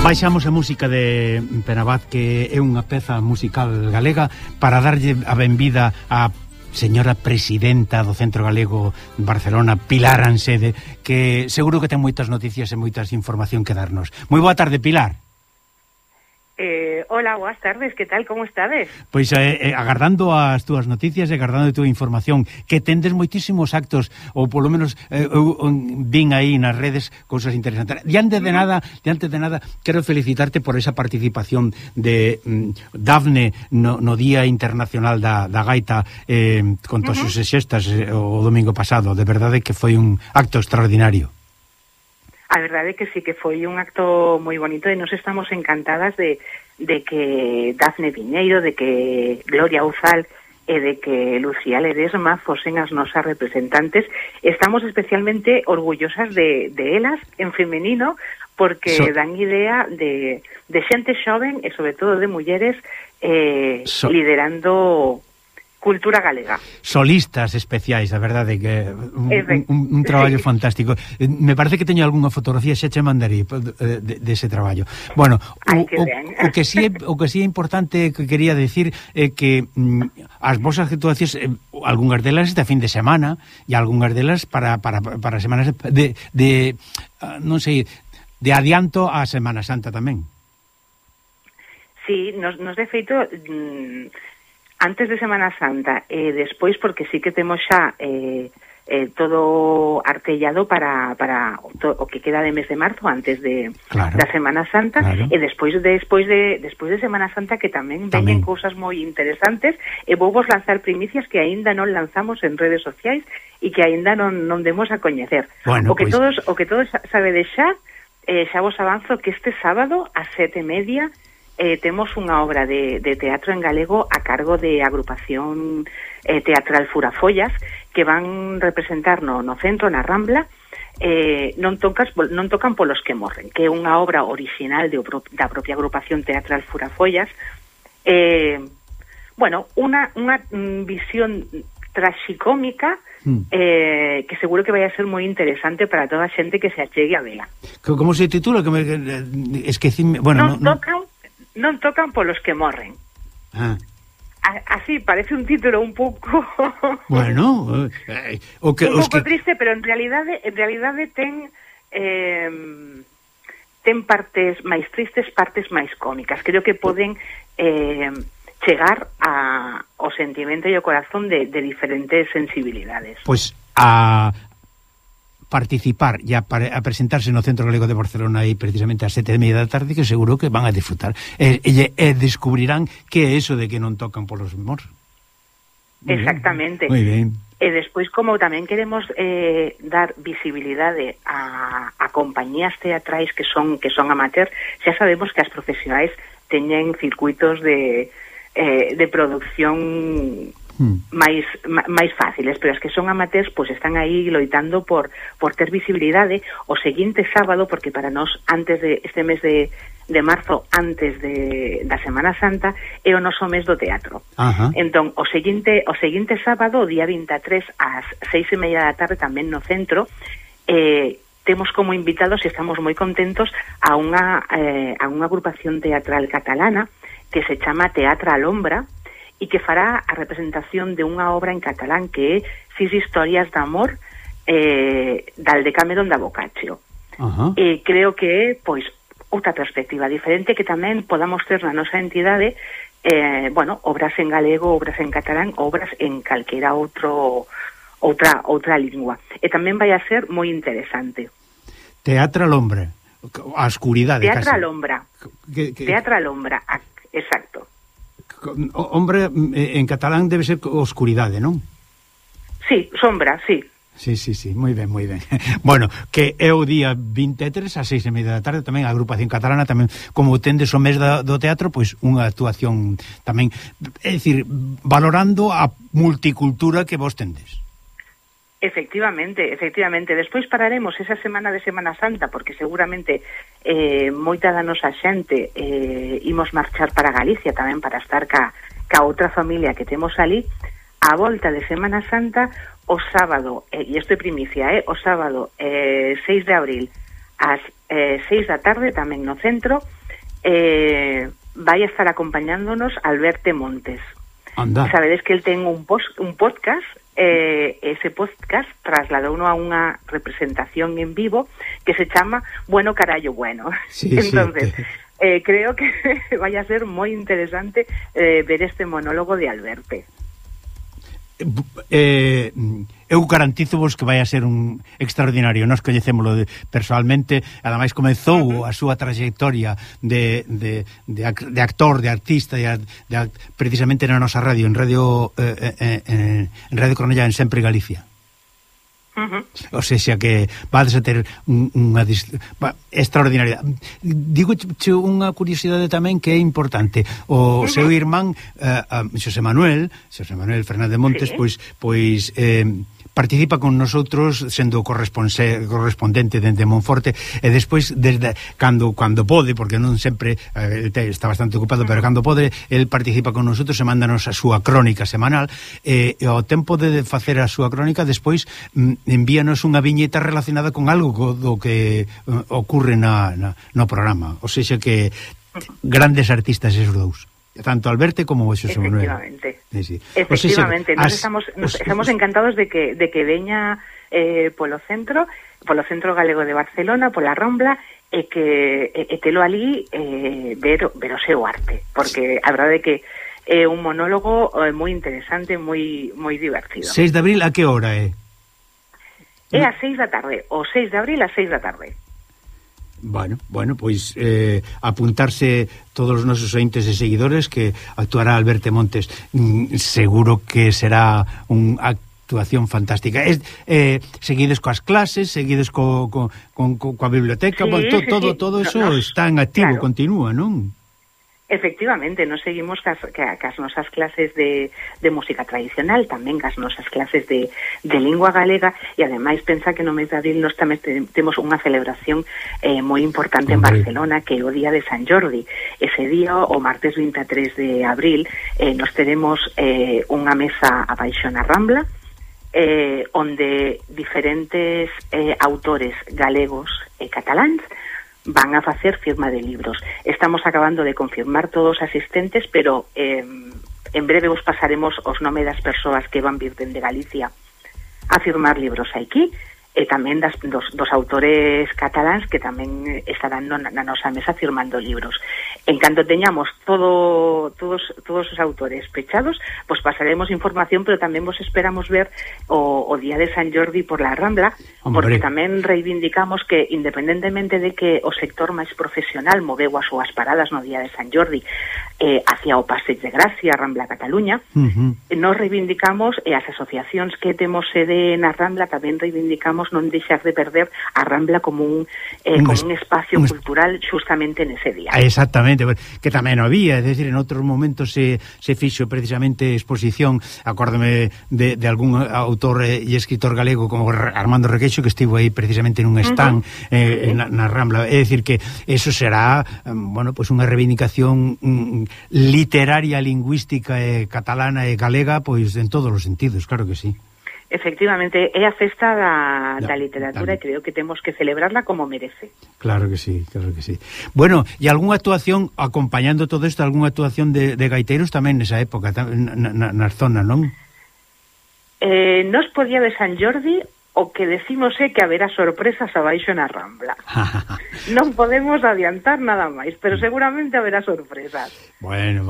Baixamos a música de Penabad, que é unha peza musical galega, para darlle a benvida a señora presidenta do Centro Galego de Barcelona, Pilar Ansede, que seguro que ten moitas noticias e moitas información que darnos. Moi boa tarde, Pilar. Hola, boas tardes, que tal, como estades? Pois agardando as túas noticias e agardando a túa información, que tendes moitísimos actos, ou polo menos eu vin aí nas redes cousas interesantes. Diante de nada, quero felicitarte por esa participación de Dafne no Día Internacional da Gaita, con todas as xestas o domingo pasado. De verdade que foi un acto extraordinario. A verdade é que sí, que foi un acto moi bonito e nos estamos encantadas de que Dafne Viñeiro, de que Gloria Uzal e de que Lucía Ledesma fosen as nosas representantes. Estamos especialmente orgullosas de elas en femenino, porque dan idea de xente xoven e sobre todo de mulleres liderando cultura galega. Solistas especiais, a verdade que un traballo fantástico. Me parece que teño algunha fotografía, xa che mandarei dese traballo. Bueno, o que si é importante que quería decir é que as vosas actuacións, algunhas delas esta fin de semana e algunhas delas para semanas de non sei, de adianto a Semana Santa tamén. Sí, nos de feito antes de Semana Santa e despois, porque sí que temos xa todo artellado para o que queda de mes de marzo antes da Semana Santa, e despois de Semana Santa, que tamén veñen cousas moi interesantes, e vou vos lanzar primicias que aínda non lanzamos en redes sociais e que aínda non demos a coñecer. Bueno, o que todos sabedes xa vos avanzo que este sábado a 7:30 temos unha obra de teatro en galego a cargo de agrupación teatral Furafollas, que van representar no centro, na Rambla, non tocan polos que morren, que é unha obra original da propia agrupación teatral Furafollas. Bueno, unha visión traxicómica que seguro que vai a ser moi interesante para toda a xente que se achegue a vela. Como se titula? Que esquecime... Bueno, Non tocan polos que morren. Así, parece un título un pouco... Bueno... un pouco triste, pero en realidade ten partes máis tristes, partes máis cómicas. Creo que poden chegar ao sentimento e ao corazón de diferentes sensibilidades. Pois a participar e a presentarse no Centro Galego de Barcelona aí precisamente ás 7:30 da tarde, que seguro que van a disfrutar e descubrirán que é eso de que non tocan polos morros. Exactamente. Moi ben. E despois, como tamén queremos dar visibilidade a compañías teatrais que son amateur, xa sabemos que as profesionais teñen circuitos de producción máis fáciles, pero as que son amateurs pois están aí loitando por ter visibilidade. O seguinte sábado, porque para nós antes de este mes de marzo, antes da Semana Santa, é o noso mes do teatro. Entón, o seguinte sábado, o día 23 ás 6:30 da tarde, tamén no centro, temos como invitados, e estamos moi contentos, a unha agrupación teatral catalana que se chama Teatra Alombra, e que fará a representación de unha obra en catalán que é Sis historias de amor dal Decameron da Boccaccio. E creo que é, pois, outra perspectiva diferente que tamén podamos ter na nosa entidade, obras en galego, obras en catalán, obras en calquera outra lingua. E tamén vai a ser moi interesante. Teatra Alombra, a oscuridade. Teatra Alombra, exacto. Hombre, en catalán debe ser oscuridade, non? Sí, sombra, sí. Sí, moi ben. Bueno, que é o día 23 ás 6:30 da tarde, tamén a agrupación catalana, tamén como tendes o mes do teatro, pois unha actuación tamén, é dicir, valorando a multicultura que vos tendes. Efectivamente. Despois pararemos esa semana de Semana Santa, porque seguramente moita da nosa xente imos marchar para Galicia tamén para estar ca outra familia que temos ali. A volta de Semana Santa, o sábado, e isto é primicia, o sábado 6 de abril ás 6 da tarde, tamén no centro, vai a estar acompañándonos Alberto Montes. Anda. Sabedes que el ten un podcast, ese podcast trasladouno a unha representación en vivo que se chama Bueno Carallo Bueno. Sí, entonces, creo que vai a ser moi interesante ver este monólogo de Alberto. Eu garantizo-vos que vai a ser un extraordinario. Nós coñecémolo personalmente, ademais comezou a súa trayectoria de actor, de artista, precisamente na nosa radio, en Radio Cornellá, en Sempre Galicia. O sea que vades a ter unha extraordinaria. Digo unha curiosidade tamén que é importante. O seu irmán Xosé Manuel Fernández Montes, sí, pois participa con nosotros sendo correspondente dende Monforte, e despois desde cando pode, porque non sempre está bastante ocupado, pero cando pode el participa con nosotros e mándanos a súa crónica semanal, e ao tempo de facer a súa crónica despois envíanos unha viñeta relacionada con algo do que ocurre no programa. O sea que grandes artistas esos dous, tanto Alberto como Xosé Manuel. Efectivamente, nos estamos encantados de que veña polo centro galego de Barcelona, pola Rambla, e que telo ali ver o seu arte, porque a verdade é que é un monólogo moi interesante, moi divertido. 6 de abril, a que hora é? É a 6 da tarde, o 6 de abril a 6 da tarde. Bueno, pois apuntarse todos os nosos ointes e seguidores, que actuará Alberto Montes. Seguro que será unha actuación fantástica. Seguides coas clases, seguides coa biblioteca, sí, todo eso está en activo, claro. Continúa, non? Efectivamente, nos seguimos cas nosas clases de música tradicional, tamén cas nosas clases de lingua galega, e ademais pensa que no mes de abril nos tamén temos unha celebración moi importante en Barcelona, que é o día de San Jordi. Ese día, o martes 23 de abril, nos teremos unha mesa abaixo na Rambla, onde diferentes autores galegos e cataláns van a facer firma de libros. Estamos acabando de confirmar todos os asistentes, pero en breve vos pasaremos os nomes das persoas que van vir dende Galicia a firmar libros aquí, e tamén dos autores cataláns que tamén estarán na nosa mesa firmando libros. En canto teñamos todos os autores pechados, pues pasaremos información, pero tamén vos esperamos ver o día de San Jordi por la Rambla, porque tamén reivindicamos que, independentemente de que o sector máis profesional moveu as súas paradas no día de San Jordi hacia o Passeig de Gracia, Rambla Cataluña, nos reivindicamos, e as asociacións que temos sede na Rambla tamén reivindicamos non deixar de perder a Rambla como un espacio cultural justamente nese día. Exactamente, que tamén había, é dicir, en outros momentos se fixo precisamente exposición, acórdame de algún autor e escritor galego como Armando Requeixo, que estivo aí precisamente nun stand na Rambla. É dicir que eso será, pues unha reivindicación literaria, lingüística, catalana e galega, pois en todos os sentidos, claro que sí. Efectivamente, é a festa da literatura, e creo que temos que celebrarla como merece. Claro que sí, claro que sí. Bueno, e algunha actuación, acompañando todo isto, algunha actuación de gaiteiros tamén nesa época, nas zonas, non? Nos por día de San Jordi, o que decimos é que haberá sorpresas abaixo na Rambla. Non podemos adiantar nada máis, pero seguramente haberá sorpresas. Bueno,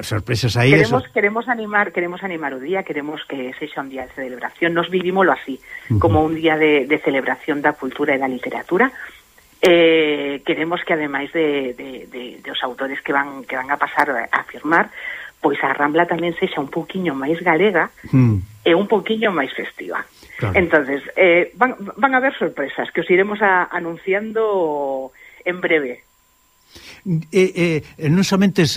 sorpresas aí. Queremos animar o día, queremos que sexa un día de celebración. Nos vivímoslo así, como un día de celebración da cultura e da literatura. Queremos que, ademais de os autores que van a pasar a firmar, pois a Rambla tamén sexa un pouquiño máis galega e un pouquiño máis festiva. Claro. Entonces, van a haber sorpresas que os iremos anunciando en breve. Non somente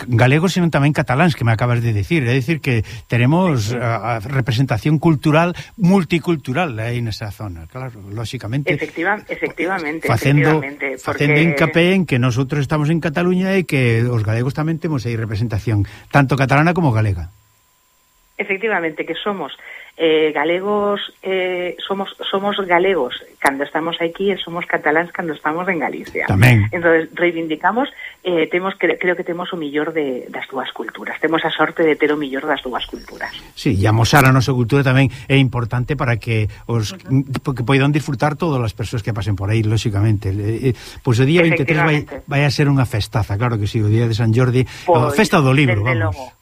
galegos, sino tamén cataláns, que me acabas de decir. É dicir que tenemos a representación cultural multicultural aí nesa zona, claro, lógicamente. Efectivamente. Facendo hincapié en que nosotros estamos en Cataluña e que os galegos tamén temos aí representación, tanto catalana como galega. Efectivamente, que somos galegos, somos galegos cando estamos aquí e somos cataláns cando estamos en Galicia. Tamén. Entonces, reivindicamos, creo que temos o millor das dúas culturas. Temos a sorte de ter o millor das dúas culturas. Sí, e amosar a nosa cultura tamén é importante para que que poidan disfrutar todas as persoas que pasen por aí, lóxicamente. Pois o día 23 vai a ser unha festaza, claro que sí, o día de San Jordi, a festa do libro, vamos. Logo.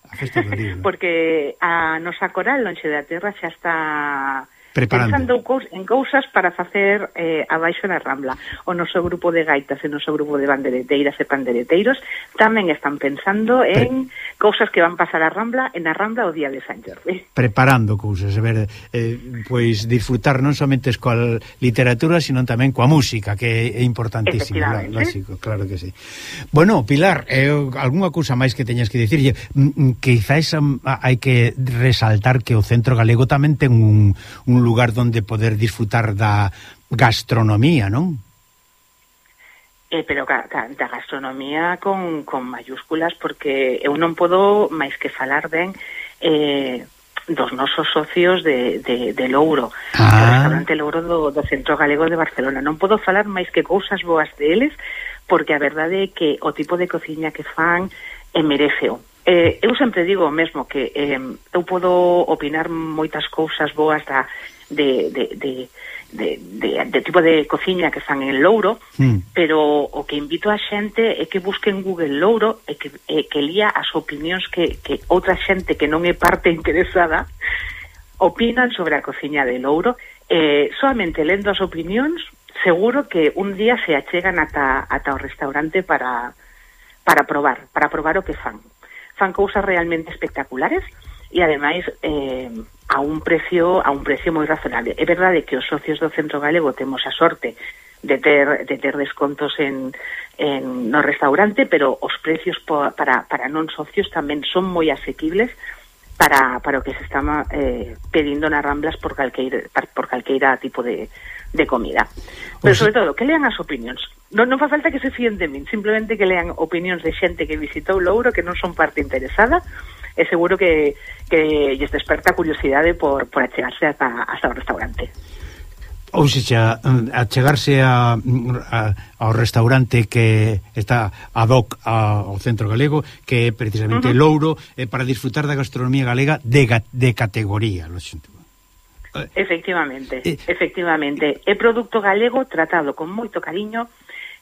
Porque a nosa coral Lonxe da Terra xa está preparando en cousas para facer abaixo na Rambla. O noso grupo de gaitas e o noso grupo de bandereteiras e pandereteiros tamén están pensando en cousas que van pasar a Rambla en a Rambla o día de San Jordi. Preparando cousas, a ver, pois disfrutar non somente coa literatura, sino tamén coa música, que é importantísimo, lógico, claro que sí. Bueno, Pilar, algunha cousa máis que teñas que dicirlle? Quizás hai que resaltar que o Centro Galego tamén ten un lugar donde poder disfrutar da gastronomía, non? Pero da gastronomía con mayúsculas, porque eu non podo máis que falar ben dos nosos socios de Louro, do restaurante Louro do Centro Galego de Barcelona. Non podo falar máis que cousas boas deles, porque a verdade é que o tipo de cociña que fan mereceo. Eu sempre digo o mesmo, que eu podo opinar moitas cousas boas de tipo de cociña que fan en Louro, pero o que invito a xente é que busquen Google Louro e que lía as opinións que outra xente que non é parte interesada opinan sobre a cociña de Louro. Solamente lendo as opinións seguro que un día se achegan ata o restaurante para probar o que fan cousas realmente espectaculares e ademais a un precio moi razonable. É verdade que os socios do Centro Galego temos a sorte de ter descontos no restaurante, pero os precios para non socios tamén son moi asequibles para o que se está pedindo nas Ramblas por calqueira tipo de comida. Pero sobre todo, que lean as opinións. Non fa falta que se fíen de min, simplemente que lean opinións de xente que visitou Louro, que non son parte interesada, e seguro que lles desperta curiosidade por achegarse hasta o restaurante. Ou seja, achegarse ao restaurante que está ad hoc ao Centro Galego, que é precisamente Louro, para disfrutar da gastronomía galega de categoría, lo xento. Efectivamente. É produto galego tratado con moito cariño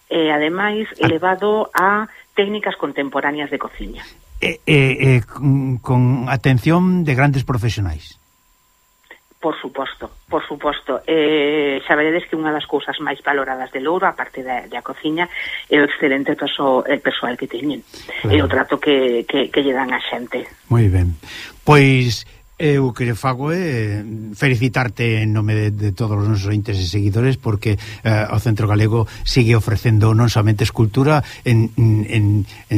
e ademais elevado a técnicas contemporáneas de cociña. Con atención de grandes profesionais. Por suposto. Xa veredes que unha das cousas máis valoradas de Louro, a parte da cociña, é o excelente persoal que teñen, claro. E o trato que lle dan a xente. Moi ben. Pois eu que fago é felicitarte en nome de todos os nosos ointes e seguidores, porque o Centro Galego sigue ofrecendo non somente escultura en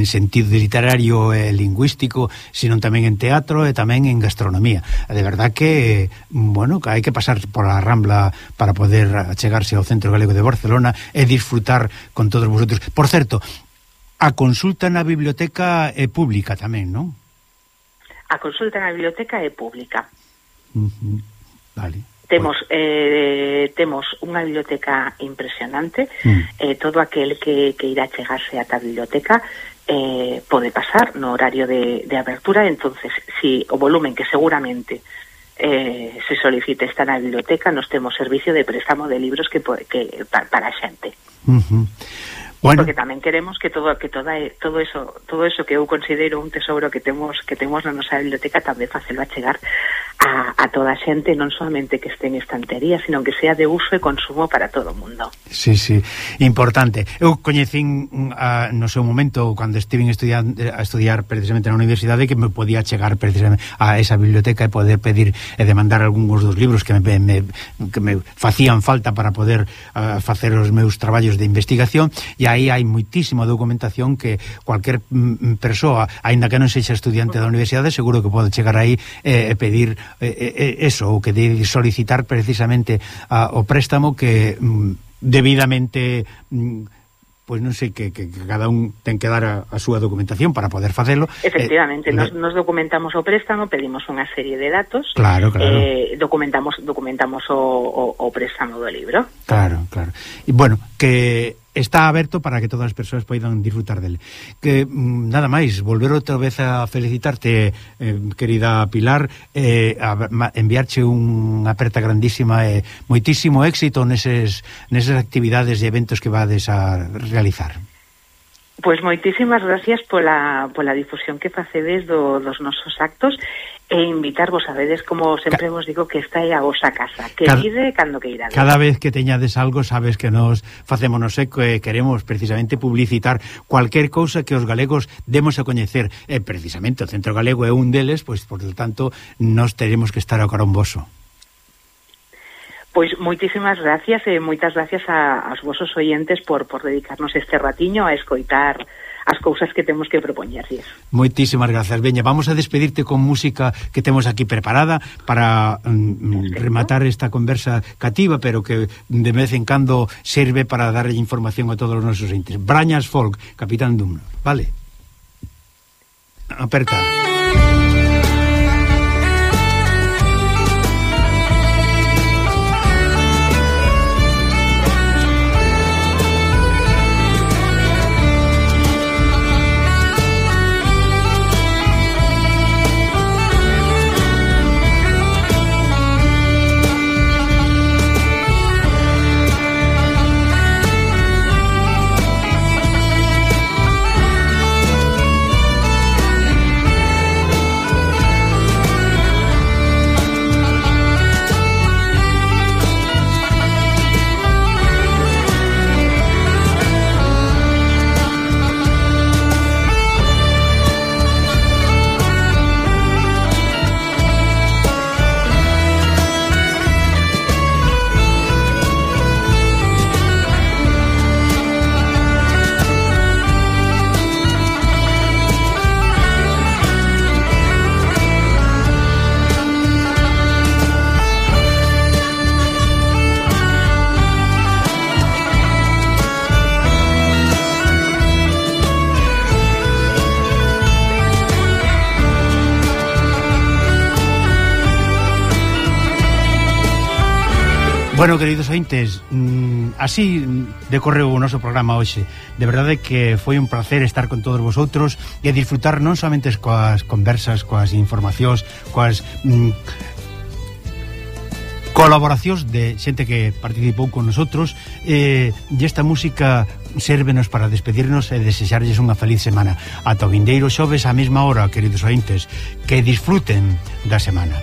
sentido literario e lingüístico, sino tamén en teatro e tamén en gastronomía. De verdad que, bueno, que hai que pasar por a Rambla para poder achegarse ao Centro Galego de Barcelona e disfrutar con todos vosotros. Por certo, a consulta na biblioteca é pública tamén, non? A consulta na biblioteca é pública. Vale. Temos unha biblioteca impresionante. Todo aquel que irá chegarse ata a biblioteca pode pasar no horario de abertura. Entonces, si o volumen que seguramente se solicite está na biblioteca, nos temos servicio de préstamo de libros que para a xente. Bueno. Porque tamén queremos que todo eso que eu considero un tesouro que temos na nosa biblioteca tamén facelo chegar a toda a xente, non solamente que este en estantería, sino que sea de uso e consumo para todo o mundo. Sí, importante. Eu coñecín no seu momento, cando estiven a estudiar precisamente na universidade, que me podía chegar precisamente a esa biblioteca e poder pedir e demandar algúns dos libros que me facían falta para poder facer os meus traballos de investigación, e aí hai moitísima documentación que cualquier persoa, aínda que non sexa estudiante da universidade, seguro que pode chegar aí e pedir eso, ou que de solicitar precisamente o préstamo que debidamente pois non sei que cada un ten que dar a súa documentación para poder facelo. Efectivamente, nos documentamos o préstamo, pedimos unha serie de datos, claro. Documentamos o préstamo do libro. Claro. E bueno, que está aberto para que todas as persoas poidan disfrutar dele. Que nada máis, volver outra vez a felicitarte, querida Pilar, enviarche unha aperta grandísima e moitísimo éxito nesas actividades e eventos que vades a realizar. Pois moitísimas gracias pola difusión que facedes dos nosos actos e invitarvos, sabedes, como sempre vos digo, que esta é a vosa casa, que vide cando que irades. Cada vez que teñades algo, sabes que nos facémonos eco e queremos precisamente publicitar cualquier cousa que os galegos demos a coñecer, e precisamente o Centro Galego é un deles, pois, por lo tanto, nos teremos que estar ao caromboso. Pois moitísimas gracias e moitas gracias aos vosos oyentes por dedicarnos este ratiño a escoitar as cousas que temos que propoñerlles. Moitísimas grazas. Veña, vamos a despedirte con música que temos aquí preparada para rematar esta conversa cativa, pero que de vez en cando serve para darlle información a todos os nosos entes. Brañas Folk, Capitán Dumno. Vale. Aperta. Bueno, queridos ointes, así decorreu o noso programa hoxe. De verdade que foi un placer estar con todos vosotros e disfrutar non somente coas conversas, coas informacións, coas colaboracións de xente que participou con nosotros, e esta música sérvenos para despedirnos e desexarlles unha feliz semana. Ata o vindeiro xoves á mesma hora, queridos ointes, que disfruten da semana.